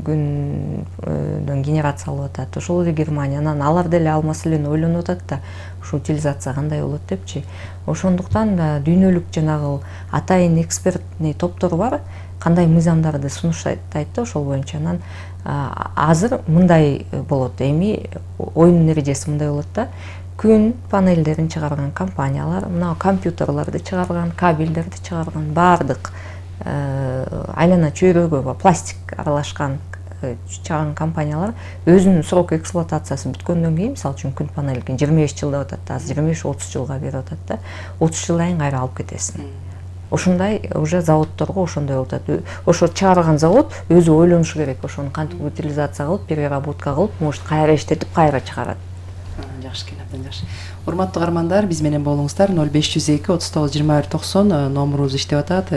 күндөн генерация алып атат. Ошол эле Германия, анан алар деле ал маселени ойлонуп атат да, ушу утилизация кандай болот депчи. Ошондуктан дүйнөлүк жанагы атайын экспертный топтор бар, кандай мыйзамдарды сунуштайт да ошол боюнча. Анан азыр мындай болот, эми оюн эрежеси мындай болот да. Күн панелдерин чыгарган компаниялар, мына компьютерларды чыгарган, кабелдерди чыгарган, баардык айлана чөйрөгө пластик аралашкан чыгарган компаниялар өзүнүн срок эксплуатациясы бүткөндөн кийин, мисалы үчүн күн панелин 25 жыл деп атат, азыр 25-30 жылга берип атат да. 30 жылдан кийин кайра алып кетесиң. Ошондой уже заводдорго ошондой болуп атат. Ошо чыгарган завод өзү ойлонушу керек, ошону кантип утилизация кылып, переработка кылып, может кайра иштетип, кайра чыгарат. Жакшы экен, абдан жакшы. Урматтуу каармандар, биз менен болуңуздар. 0502 39-21-90 номурубуз иштеп атат.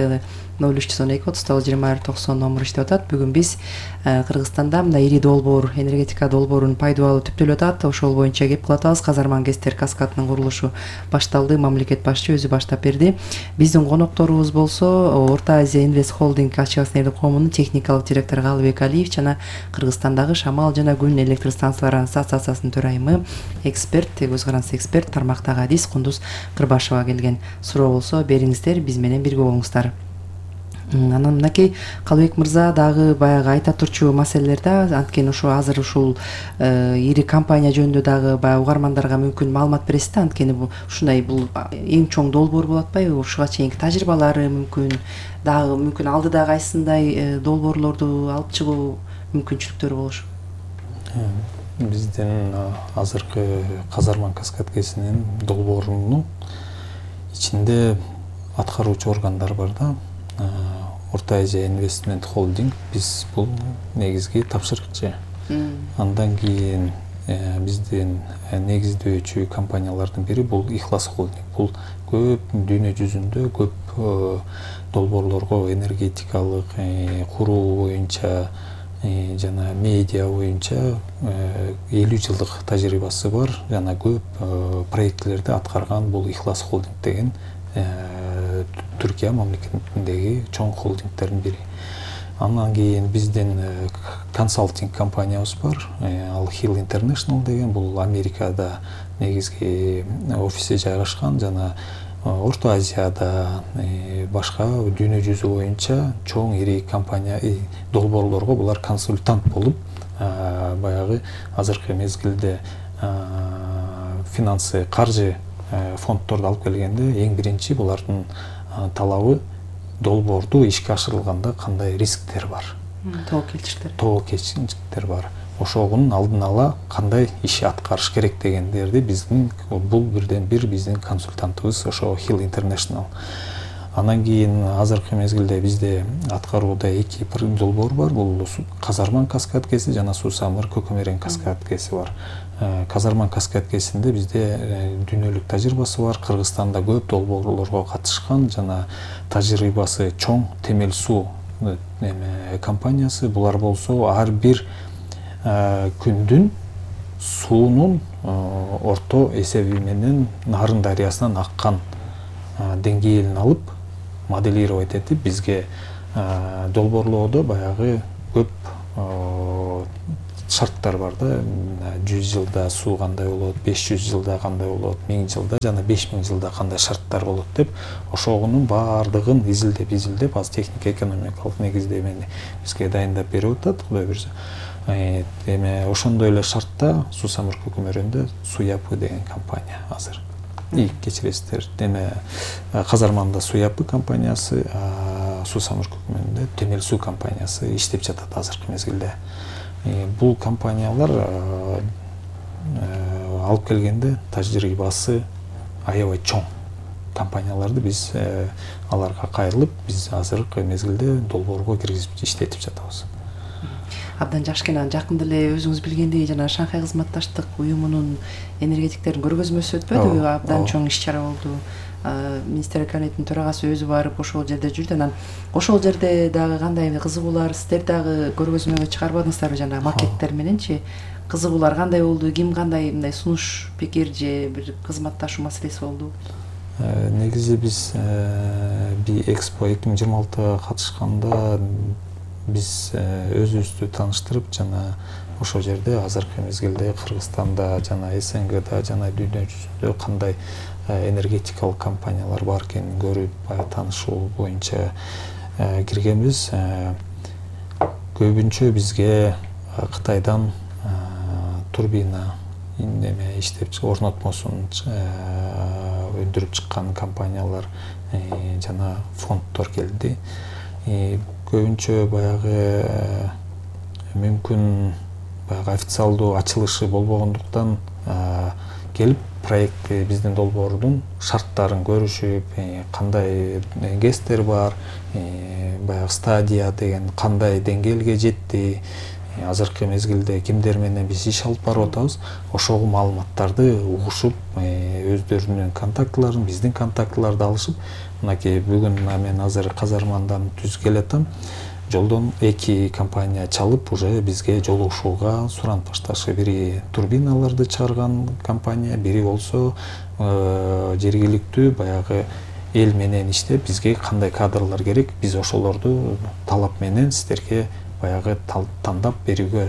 0312 39-21-90 номуру иштеп атат. Бүгүн биз Кыргызстанда мындай ири долбоор, энергетика долбоорунун пайдалуу түптөлүп атат. Ошол боюнча кеп кылып атабыз. Казарман ГЭСтер каскадынын курулушу башталды. Мамлекет башчы өзү баштап берди. Биздин конокторубуз болсо Орто Азия Инвест Холдинг ачык акционерлик коомунун техникалык директору Калыбек Алиев жана Кыргызстандагы шамал жана күн электр станциялары ассоциациясынын төрайымы, эксперт, көз каранды эксперт тармактагы Адис Кундуз Кырбашева келген. Суроо болсо бериңиздер, биз менен бирге болуңуздар. Анан мынакей Калыбек мырза дагы баягы айта турчу маселелерде, анткени ошо азыр ушул ири компания жөнүндө дагы баягы угармандарга мүмкүн маалымат бересиз да, анткени ушундай бул эң чоң долбоор болуп атпайбы? Ушуга чейинки тажрыйбалары мүмкүн алдыда кайсындай долбоорлорду алып чыгуу мүмкүнчүлүктөрү болушу? Биздин азыркы Казарман Каскад ГЭСинин долбоорунун ичинде аткаруучу органдар бар да. Орто Азия Инвестмент Холдинг, биз бул негизги тапшырыкчы. Андан кийин биздин негиздөөчү компаниялардын бири бул Ихлас Холдинг. Бул көп дүйнө жүзүндө көп долбоорлорго энергетикалык куруу боюнча жана медиа боюнча 50 жылдык тажрыйбасы бар, жана көп проектлерди аткарган бул Ихлас Холдинг деген Түркия мамлекетиндеги чоң холдингдердин бири. Андан кийин биздин консалтинг компаниябыз бар, ал Hill International деген, бул Америкада негизги офиси жайгашкан жана Орто Азияда башка дүйнө жүзү боюнча чоң ири компания долбоорлорго булар консультант болуп, баягы азыркы мезгилде финансы, каржы фонддорду алып келгенде эң биринчи булардын талабы долбоорду ишке ашырылганда кандай рисктер бар, тобокелчиликтер бар, ошонун алдын ала кандай иш аткарыш керек дегендерди биздин бул бирден бир биздин консультантыбыз ошо Hill International. Анан кийин азыркы мезгилде бизде аткарууда 2 долбоор бар. Бул Казарман каскадкеси жана Суу-Самыр Көкөмөрен каскадкеси бар. Казарман каскадкесинде бизде дүйнөлүк тажрыйбасы бар. Кыргызстанда көп долбоорлорго катышкан жана тажрыйбасы чоң Темел суу компаниясы. Булар болсо ар бир күндүн суунун орто эсеби менен Нарын дарыясынан аккан деңгээлин алып моделировать этип бизге долбоорлоодо баягы көп шарттар бар да. 100 жылда суу кандай болот, 500 жылда кандай болот, 1000 жылда жана 5000 жылда кандай шарттар болот деп ошонун баардыгын изилдеп аз техник экономикалык негиздемени бизге дайындап берип атат, Кудай буйрса. Эми ошондой эле шартта Суу-Самыр Көкөмөрөндө Суяпы деген компания азыр. Кечиресиздер. Эми Казарманда Суяпы компаниясы, Суу-Самыр Көкөмөрөндө Темел суу компаниясы иштеп жатат азыркы мезгилде. Бул компаниялар алып келгенде тажрыйбасы аябай чоң компанияларды биз аларга кайрылып, биз азыркы мезгилде долбоорго киргизип иштетип жатабыз. Абдан жакшы экен. Жакында эле өзүңүз билгендей жана Шанхай кызматташтык уюмунун энергетиктердин көргөзмөсү өтпөдүбү? Абдан чоң иш-чара болду. Министрлик кабинетинин төрагасы өзү барып ошол жерде жүрдү. Анан ошол жерде дагы кандай кызыгуулар, сиздер дагы көргөзмөгө чыгарбадыңыздарбы жана макеттер мененчи? Кызыгуулар кандай болду? Ким кандай мындай сунуш, пикир же бир кызматташуу маселеси болду? Негизи биз Би-экспо 2026 катышканда биз өзүбүздү тааныштырып жана ошол жерде азыркы мезгилде Кыргызстанда жана СНГда жана дүйнө жүзүндө кандай энергетикалык компаниялар бар экенин көрүп, таанышуу боюнча киргенбиз. Көбүнчө бизге Кытайдан турбина иштеп орнотмосун өндүрүп чыккан компаниялар жана фонддор келди. Көбүнчө баягы мүмкүн баягы официалдуу ачылышы болбогондуктан келип проект биздин долбоордун шарттарын көрүшүп, кандай гестер бар, баягы стадия деген кандай деңгээлге жетти, азыркы мезгилде кимдер менен биз иш алып барып атабыз, ошол маалыматтарды угушуп, өздөрүнүн контактыларын, биздин контактыларды алышып, мынакей бүгүн мен азыр Казармандан түз келатам. Жолдон 2 компания чалып, уже бизге жолугушууга суранып башташы. Бири турбиналарды чыгарган компания, бири болсо жергиликтүү баягы эл менен иштеп, бизге кандай кадрлар керек, биз ошолорду талап менен сиздерге баягы тандап берүүгө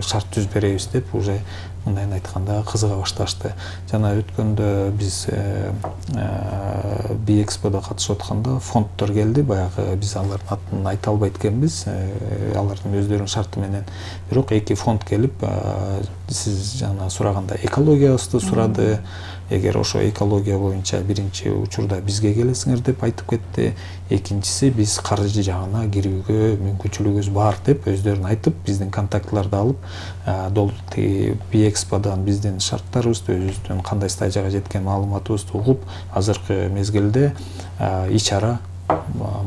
шарт түзүп беребиз деп уже мындайын айтканда кызыга башташты. Жана өткөндө биз Би-эксподо катышып атканда фонддор келди. Баягы биз алардын атын айта албайт экенбиз, алардын өздөрүнүн шарты менен. Бирок 2 фонд келип, сиз жана сураганда экологиябызды сурады. Эгер ошо экология боюнча биринчи учурда бизге келесиңер деп айтып кетти. Экинчиси биз каржы жагына кирүүгө мүмкүнчүлүгүбүз бар деп өздөрүн айтып, биздин контактларды алып, Би-эксподон биздин шарттарыбызды, өзүбүздүн кандай стадияга жеткен маалыматыбызды угуп, азыркы мезгилде ич-ара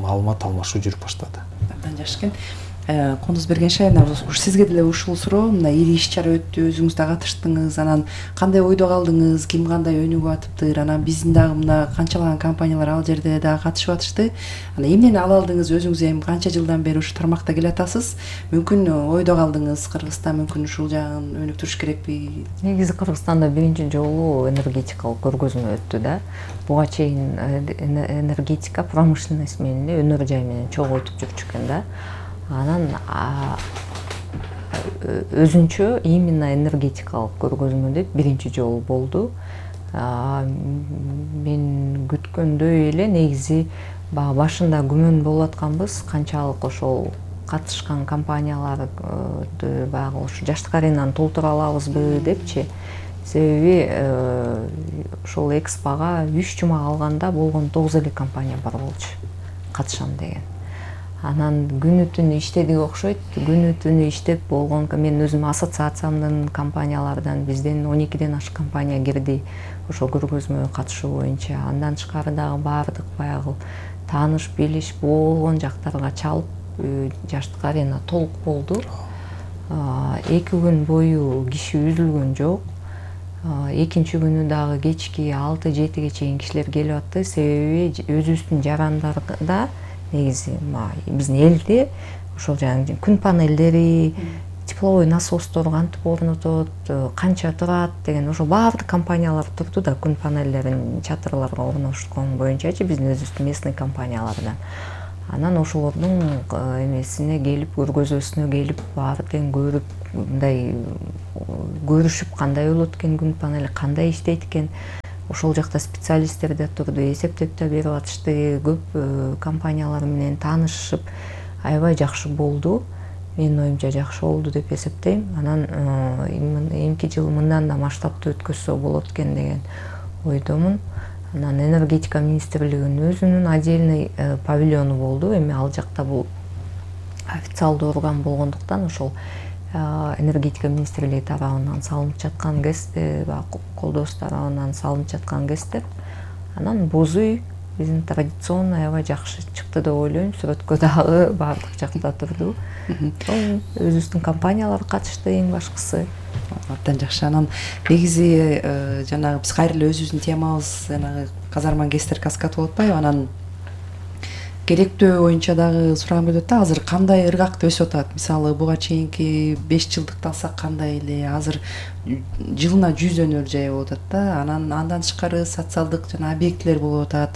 маалымат алмашуу жүрүп баштады. Абдан жакшы экен. Кондуз Бергеншаев, сизге деле ушул суроо, мына ири иш-чара өттү, өзүңүз да катыштыңыз, анан кандай ойдо калдыңыз, ким кандай өнүгүп атыптыр, анан биздин дагы мына канчалаган компаниялар ал жерде дагы катышып атышты. Анан эмнени ала алдыңыз, өзүңүз эми канча жылдан бери ушу тармакта келатасыз? Мүмкүн ойдо калдыңыз, Кыргызстан мүмкүн ушул жагын өнүктүрүш керекпи? Негизи Кыргызстанда биринчи жолу энергетикалык көргөзмө өттү да. Буга чейин энергетика промышленность менен, өнөр жай менен чогуу өтүп жүрчү экен да. Анан өзүнчө именно энергетикалык көргөзмө деп биринчи жолу болду. Мен күткөндөй эле негизи башында күмөн болуп атканбыз, канчалык ошол катышкан компанияларды баягы ушу жаштык аренаны толтура алабызбы депчи. Себеби ошол экспого 3 жума калганда болгон 9 эле компания бар болчу катышам деген. Анан күнү түнү иштедик окшойт. Күнү түнү иштеп болгон, мен өзүм ассоциациямдын компаниялардан бизден 12ден ашык компания кирди ошол көргөзмөгө катышуу боюнча. Андан тышкары дагы баардык баягы тааныш билиш болгон жактарга чалып, жаштык арена толук болду. 2 күн бою киши үзүлгөн жок. Экинчи күнү дагы кечки 6-7ге чейин кишилер келип атты. Себеби өзүбүздүн жарандарда негизи биздин элде ошол жаңы күн панелдери, тепловой насостор кантип орнотот, канча турат деген ошол баардык компаниялар турду да, күн панелдерин чатырларга орнотушкан боюнчачы биздин өзүбүздүн местный компаниялардан. Анан ошолордун эмесине келип, көргөзмөсүнө келип, баардыгын көрүп, мындай көрүшүп, кандай болот экен күн панели, кандай иштейт экен. Ошол жакта специалисттер да турду, эсептеп да берип атышты, көп компаниялар менен таанышып, аябай жакшы болду. Менин оюмча жакшы болду деп эсептейм. Анан эмки жыл мындан да масштабтуу өткөзсө болот экен деген ойдомун. Анан энергетика министрлигинин өзүнүн отдельный павильону болду. Эми ал жакта бул официалдуу орган болгондуктан ошол энергетика министрлиги тарабынан салынып жаткан колдоосу тарабынан салынып жаткан ГЭСтер. Анан боз үй биздин традиционный аябай жакшы чыкты деп ойлойм. Сүрөткө дагы баардык жакта турду. Өзүбүздүн компаниялар катышты эң башкысы. Абдан жакшы. Анан негизи жанагы биз кайрылы өзүбүздүн темабыз жанагы казарма ГЭСтер каскад болуп атпайбы? Анан керектөө боюнча дагы сураган болот да, азыр кандай ыргакта өсүп атат? Мисалы буга чейинки 5 жылдыкты алсак кандай эле? Азыр жылына 100 өнөр жай болуп атат да. Андан тышкары социалдык жана объектилер болуп атат.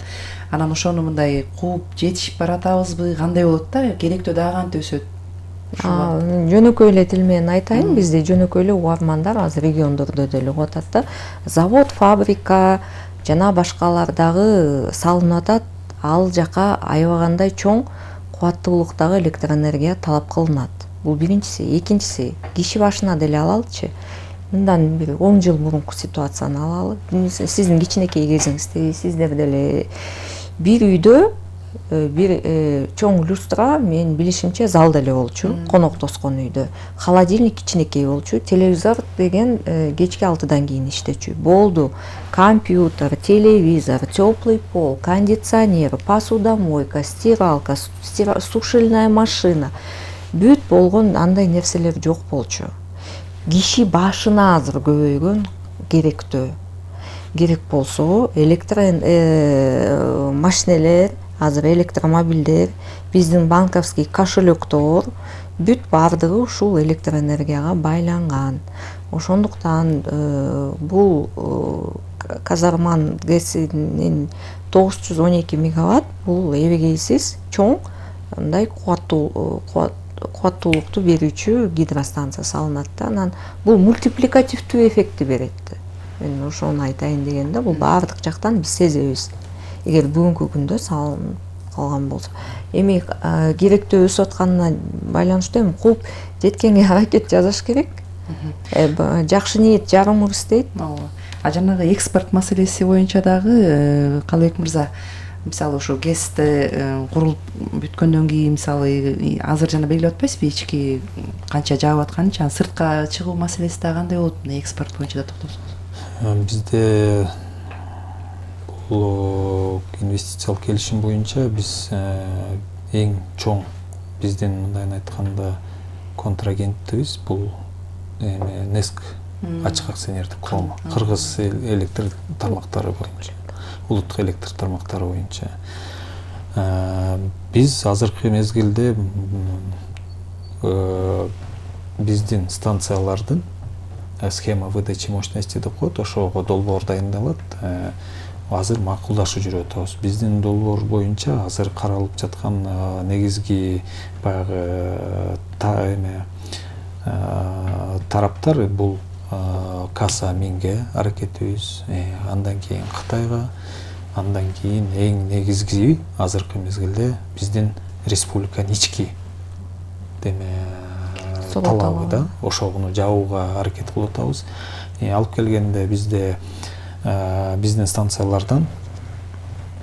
Анан ошону мындай кууп жетишип баратабызбы? Кандай болот да? Керектөө дагы кантип өсөт? Жөнөкөй эле тил менен айтайын, бизде жөнөкөй эле угармандар азыр региондордо деле угуп атат да. Завод, фабрика жана башкалар дагы салынып атат. Ал жака аябагандай чоң кубаттуулуктагы электроэнергия талап кылынат. Бул биринчиси. Экинчиси, киши башына деле алалычы. Мындан бир 10 жыл мурунку ситуацияны алалы. Сиздин кичинекей кезиңизде сиздер деле бир үйдө бир чоң люстра, мен билишимче залда эле болчу, конок тоскон үйдө. Холодильник кичинекей болчу, телевизор деген кечки 6-дан кийин иштечү. Болду. Компьютер, телевизор, теплый пол, кондиционер, посудомойка, стиралка, сушильная машина. Бүт болгон андай нерселер жок болчу. Киши башына азыр көбөйгөн керектөө. Керек болсо машинелер, азыр электромобилдер, биздин банковский кошелектор бүт баардыгы ушул электроэнергияга байланган. Ошондуктан бул казарман ГЭСинин 912 мегаватт бул эбегейсиз чоң мындай кубаттуулукту берүүчү гидростанция салынат да. Анан бул мультипликативдүү эффектти берет. Мен ошону айтайын дегенде, бул баардык жактан биз сезебиз. Эгер бүгүнкү күндө салынып калган болсо, эми керектөө өсүп атканына байланыштуу эми кууп жеткенге аракет жасаш керек. Жакшы ниет жарым ырыс дейт. А жанагы экспорт маселеси боюнча дагы Калыбек мырза, мисалы ошо ГЭСти курулуп бүткөндөн кийин мисалы азыр жана белгилеп атпайсызбы ички канча жаап атканын, жана сыртка чыгуу маселеси дагы кандай болот? Экспорт боюнча да токтолсоңуз. Бизде бул инвестициялык келишим боюнча биз эң чоң биздин мындайын айтканда контрагентибиз бул НЭСК ачык акционердик коому, кыргыз электр тармактары боюнча, улуттук электр тармактары боюнча. Биз азыркы мезгилде биздин станциялардын схема выдачи мощности деп коет, ошого долбоор дайындалат. Азыр макулдашуу жүрүп атабыз. Биздин долбоор боюнча азыр каралып жаткан негизги баягы тараптар бул Каса Минге аракетибиз, андан кийин Кытайга, андан кийин эң негизги азыркы мезгилде биздин республиканын ички талабы да, ошону жабууга аракет кылып атабыз. Алып келгенде бизде биздин станциялардан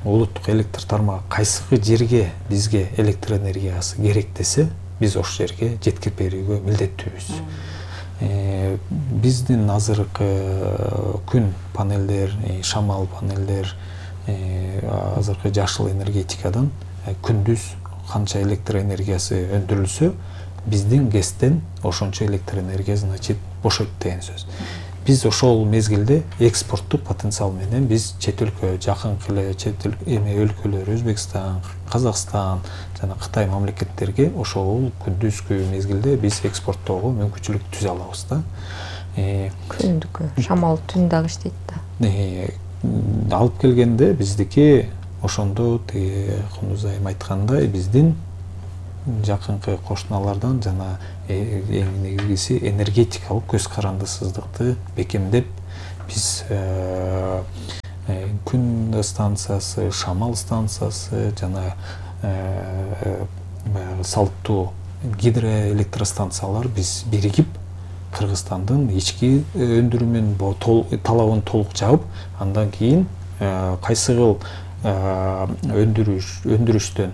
улуттук электр тармагы кайсыгы жерге бизге электр энергиясы керек десе, биз ошол жерге жеткирип берүүгө милдеттүүбүз. Биздин азыркы күн панелдер, шамал панелдер, азыркы жашыл энергетикадан күндүз канча электр энергиясы өндүрүлсө, биздин ГЭСтен ошончо электр энергия, значит, бошойт деген сөз. Биз ошол мезгилде экспорттук потенциал менен биз чет өлкө, жакынкы эле чет өлкөлөр, Өзбекстан, Казакстан жана Кытай мамлекеттерге ошол күндүзгү мезгилде биз экспорттоого мүмкүнчүлүк түзө алабыз да. Күндүкү, шамал түн дагы иштейт да. Алып келгенде биздики ошондо Кундуз айым айткандай биздин жакынкы кошуналардан жана эң негизгиси энергетикалык көз карандысыздыкты бекемдеп биз күн станциясы, шамал станциясы жана баягы салттуу гидроэлектростанциялар биз биригип Кыргызстандын ички өндүрүмүн талабын толук жаап, андан кийин кайсыгыл өндүрүштөн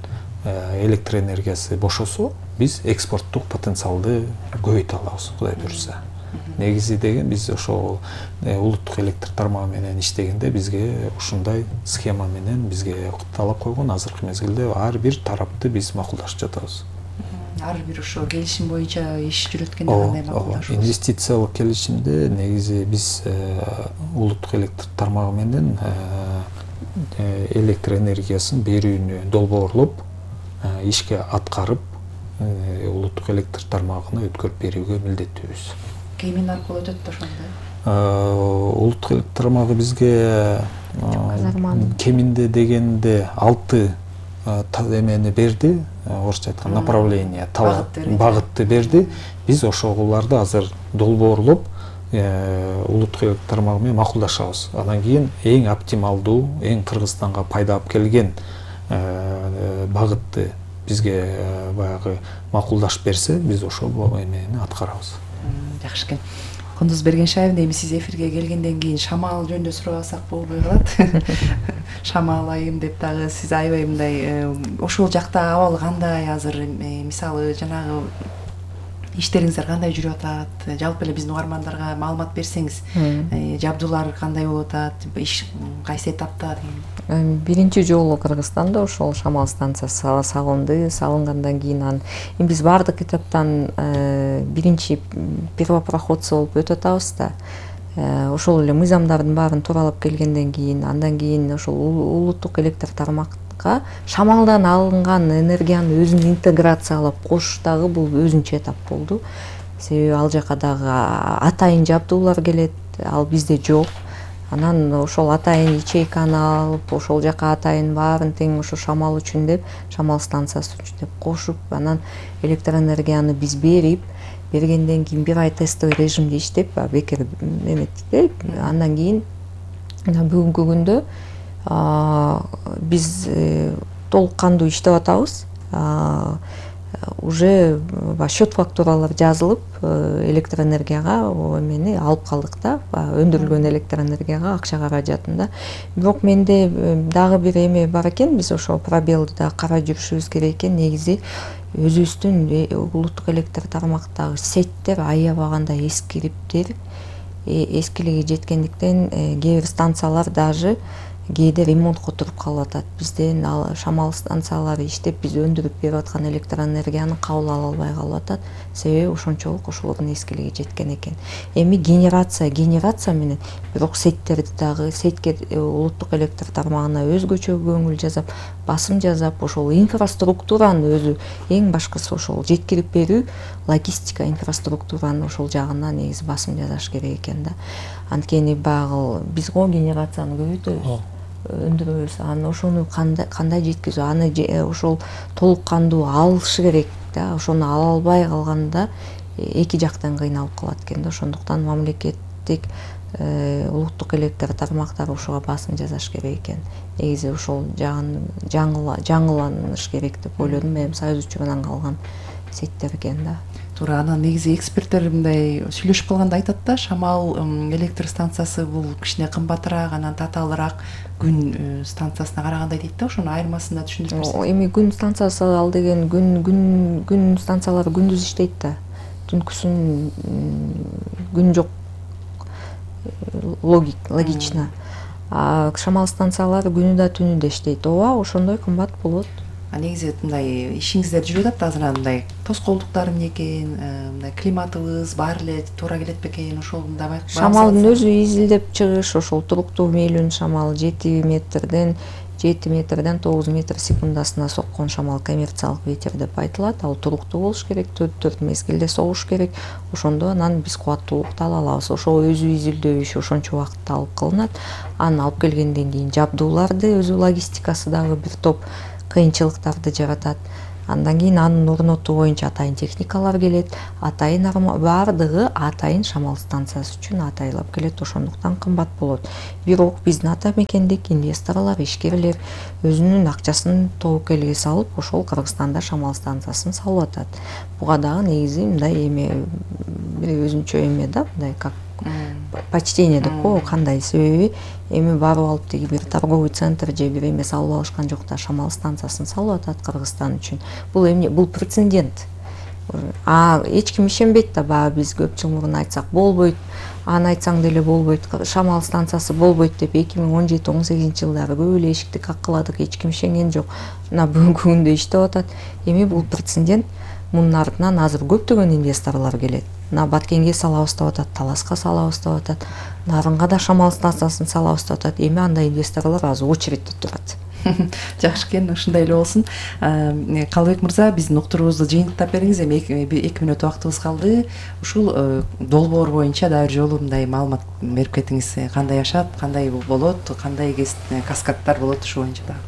электр энергиясы бошосо, биз экспорттук потенциалды көбөйтө алабыз, Кудай буйрса. Негизи деген биз ошол улуттук электр тармагы менен иштегенде бизге ушундай схема менен бизге талап койгон. Азыркы мезгилде ар бир тарапты биз макулдашып жатабыз. Ар бир ошо келишим боюнча иш жүрөткөндө кандай макулдашабыз? Инвестициялык келишимде негизи биз улуттук электр тармагы менен электр энергиясын берүүнү долбоорлоп, ишке аткарып, улуттук электр тармагына өткөрүп берүүгө милдеттүүбүз. Кимин аркылуу өтөт ошондо? Улуттук электр тармагы бизге кеминде дегенде 6 эмени берди, орусча айтканда направление, багытты берди. Биз ошолорду азыр долбоорлоп, улуттук электр тармагы менен макулдашабыз. Андан кийин эң оптималдуу, эң Кыргызстанга пайда алып келген багытты бизге баягы макулдашып берсе, биз ошол эмени аткарабыз. Жакшы экен. Кундуз Бергеншаев, эми сиз эфирге келгенден кийин шамал жөнүндө сурабасак болбой калат. Шамал айым деп дагы сиз аябай мындай ошол жакта абалы кандай азыр, мисалы жанагы иштериңиздер кандай жүрүп атат? Жалпы эле биздин угармандарга маалымат берсеңиз, жабдуулар кандай болуп атат? Иш кайсы этапта деген? Биринчи жолу Кыргызстанда ошол шамал станциясы салынды. Салынгандан кийин биз баардык этаптан биринчи первопроходцы болуп өтүп атабыз да. Ошол эле мыйзамдардын баарын тууралап келгенден кийин, андан кийин ошол улуттук электр тармакка шамалдан алынган энергияны өзүн интеграциялап кош дагы бул өзүнчө этап болду. Себеби ал жака дагы атайын жабдуулар келет, ал бизде жок. Анан ошол атайын ячейканы алып, ошол жака атайын баарын тең ошо шамал үчүн деп, шамал станциясы үчүн деп кошуп, анан электр энергияны биз бергенден кийин бир ай тестовый режимде иштеп, бекер эметти. Андан кийин бүгүнкү күндө биз толук кандуу иштеп атабыз. Уже счет фактуралар жазылып, электр энергияга эмени алып калдык да, өндүрүлгөн электр энергияга акча каражатында. Бирок менде дагы бир эме бар экен, биз ошо пробелди да карап жүрүшүбүз керек экен. Негизи өзүбүздүн улуттук электр тармактагы сеттер аябаганда эскириптер, эскилиги жеткендиктен кээ бир станциялар даже кээде ремонтко туруп калып атат. Бизден шамал станциялары иштеп, биз өндүрүп берип аткан электр энергияны кабыл ала албай калып атат. Себеби ошончолук ошолордун эскилиги жеткен экен. Эми генерация менен, бирок сеттерди дагы сетке улуттук электр тармагына өзгөчө көңүл жасап, басым жасап, ошол инфраструктураны өзү эң башкысы ошол жеткирип берүү, логистика инфраструктураны ошол жагына негизи басым жасаш керек экен да. Анткени багы биз генерацияны көбөйтөбүз, өндүрөбүз. Аны ошону кандай жеткизүү, аны ошол толук кандуу алышы керек да. Ошону ала албай калганда эки жактан кыйналып калат экен да. Ошондуктан мамлекеттик улуттук электр тармактары ошого басым жасаш керек экен. Негизи ошол жагын жаңыланыш керек деп ойлодум. Мен союз учурунан калган сеттер экен да. туура. Анан негизи эксперттер мындай сүйлөшүп калганда айтат да, шамал электр станциясы бул кичине кымбатыраак, анан татаалыраак күн станциясына караганда дейт да. Ошонун айырмасын да түшүндүрүп берсеңиз. Эми күн станциясы ал деген күн станциялары күндүз иштейт да. Түнкүсүн күн жок, логично. А шамал станциялары күнү да түнү да иштейт. Ооба, ошондой кымбат болот. Негизи мындай ишиңиздер жүрүп атат азыр, мындай тоскоолдуктар эмне экен, мындай климатыбыз баары эле туура келет бекен, ошол мындай байкап. Шамалдын өзү изилдеп чыгыш, ошол туруктуу мейлүүнүн шамал 7 метрден 9 метр секундасына соккон шамал коммерциялык ветер деп айтылат. Ал туруктуу болуш керек, 4 мезгилде согуш керек. Ошондо анан биз кубаттуулукту ала алабыз. Ошол өзү изилдөө иши ошончо убакытта алып калынат. Аны алып келгенден кийин жабдууларды, өзү логистикасы дагы бир топ кыйынчылыктарды жаратат. Андан кийин анын орнотуу боюнча атайын техникалар келет. Атайын баардыгы атайын шамал станциясы үчүн атайлап келет. Ошондуктан кымбат болот. Бирок биздин ата мекендик инвесторлор, ишкерлер өзүнүн акчасын тобокелге салып, ошол Кыргызстанда шамал станциясын салып атат. Буга дагы негизи мындай эме бир өзүнчө эме да, мындай как почтение деп коебу, кандай себеби эми барып алып деги бир торговый центр же бир эме салып алышкан жок да, шамал станциясын салып атат Кыргызстан үчүн. Бул эмне? Бул прецедент. Эч ким ишенбейт да, баягы биз көп жыл мурун айтсак болбойт, аны айтсаң деле болбойт, шамал станциясы болбойт деп 2017-18 жылдары көп эле эшикти каккыладык, эч ким ишенген жок. Мына бүгүнкү күндө иштеп атат. Эми бул прецедент. Мунун артынан азыр көптөгөн инвесторлор келет. Мына Баткенге салабыз деп атат, Таласка салабыз деп атат, Нарынга да шамал станциясын салабыз деп атат. Эми андай инвесторлор азыр очередте турат. Жакшы экен, ошондой эле болсун. Калыбек мырза, биздин уктуруубузду жыйынтыктап бериңиз. Эми 2 мүнөт убактыбыз калды. Ушул долбоор боюнча дагы бир жолу мындай маалымат берип кетиңиз. Кандай жашап, кандай болот, кандай каскадтар болот, ушул боюнча дагы.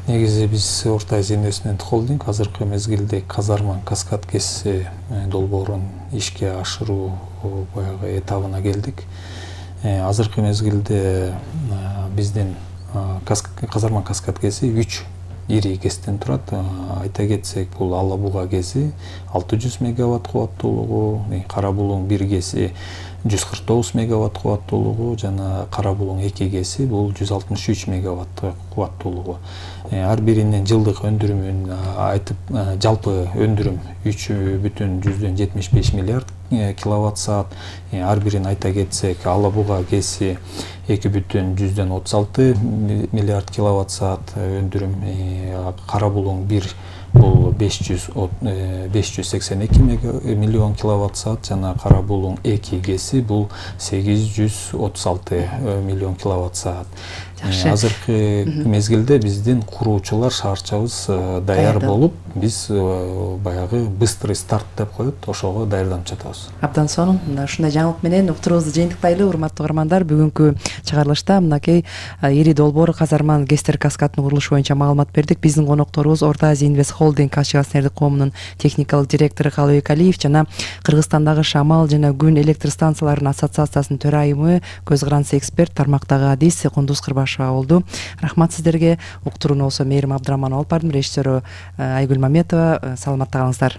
Негизи биз Орто Азия Инвестмент Холдинг азыркы мезгилде Казарман каскад КЭС долбоорун ишке ашыруу баягы этабына келдик. Азыркы мезгилде биздин Казарман каскад КЭСи 3 ири КЭСтен турат. Айта кетсек, бул Ала Буга КЭСи 600 мегаватт кубаттуулугу, Кара Булуң 1 КЭСи 149 мегаватт кубаттуулугу жана Кара Булуң 2 КЭСи бул 163 мегаватт кубаттуулугу. Ар биринин жылдык өндүрүмүн айтып, жалпы өндүрүм 3,75 миллиард киловатт саат. Ар бирин айта кетсек, Ала Буга КЭСи 2,36 миллиард киловатт саат өндүрүм, Кара Булуң 1 бул 582 миллион киловатт саат жана Кара Булуң 2 КЭСи бул 836 миллион киловатт саат. Азыркы мезгилде биздин куруучулар, шаарчабыз даяр болуп, биз баягы быстрый старт деп коет, ошого даярданып жатабыз. Абдан сонун. Ушундай жаңылык менен уктуруубузду жыйынтыктайлы, урматтуу угармандар. Бүгүнкү чыгарылышта мынакей ири долбоор Казарман КЭСтер каскадынын курулушу боюнча маалымат бердик. Биздин конокторубуз Орто Азия Инвест Холдинг АШ акционердик коомунун техникалык директору Калыбек Алиев жана Кыргызстандагы шамал жана күн электр станцияларынын ассоциациясынын төрайымы, көз карандысы эксперт, тармактагы адис Кундуз Кырбашева болду. Рахмат сиздерге. Уктурууну болсо Мээрим Абдыраманова алып бардым, режиссеру Айгүл Маметова. Саламатта калыңыздар.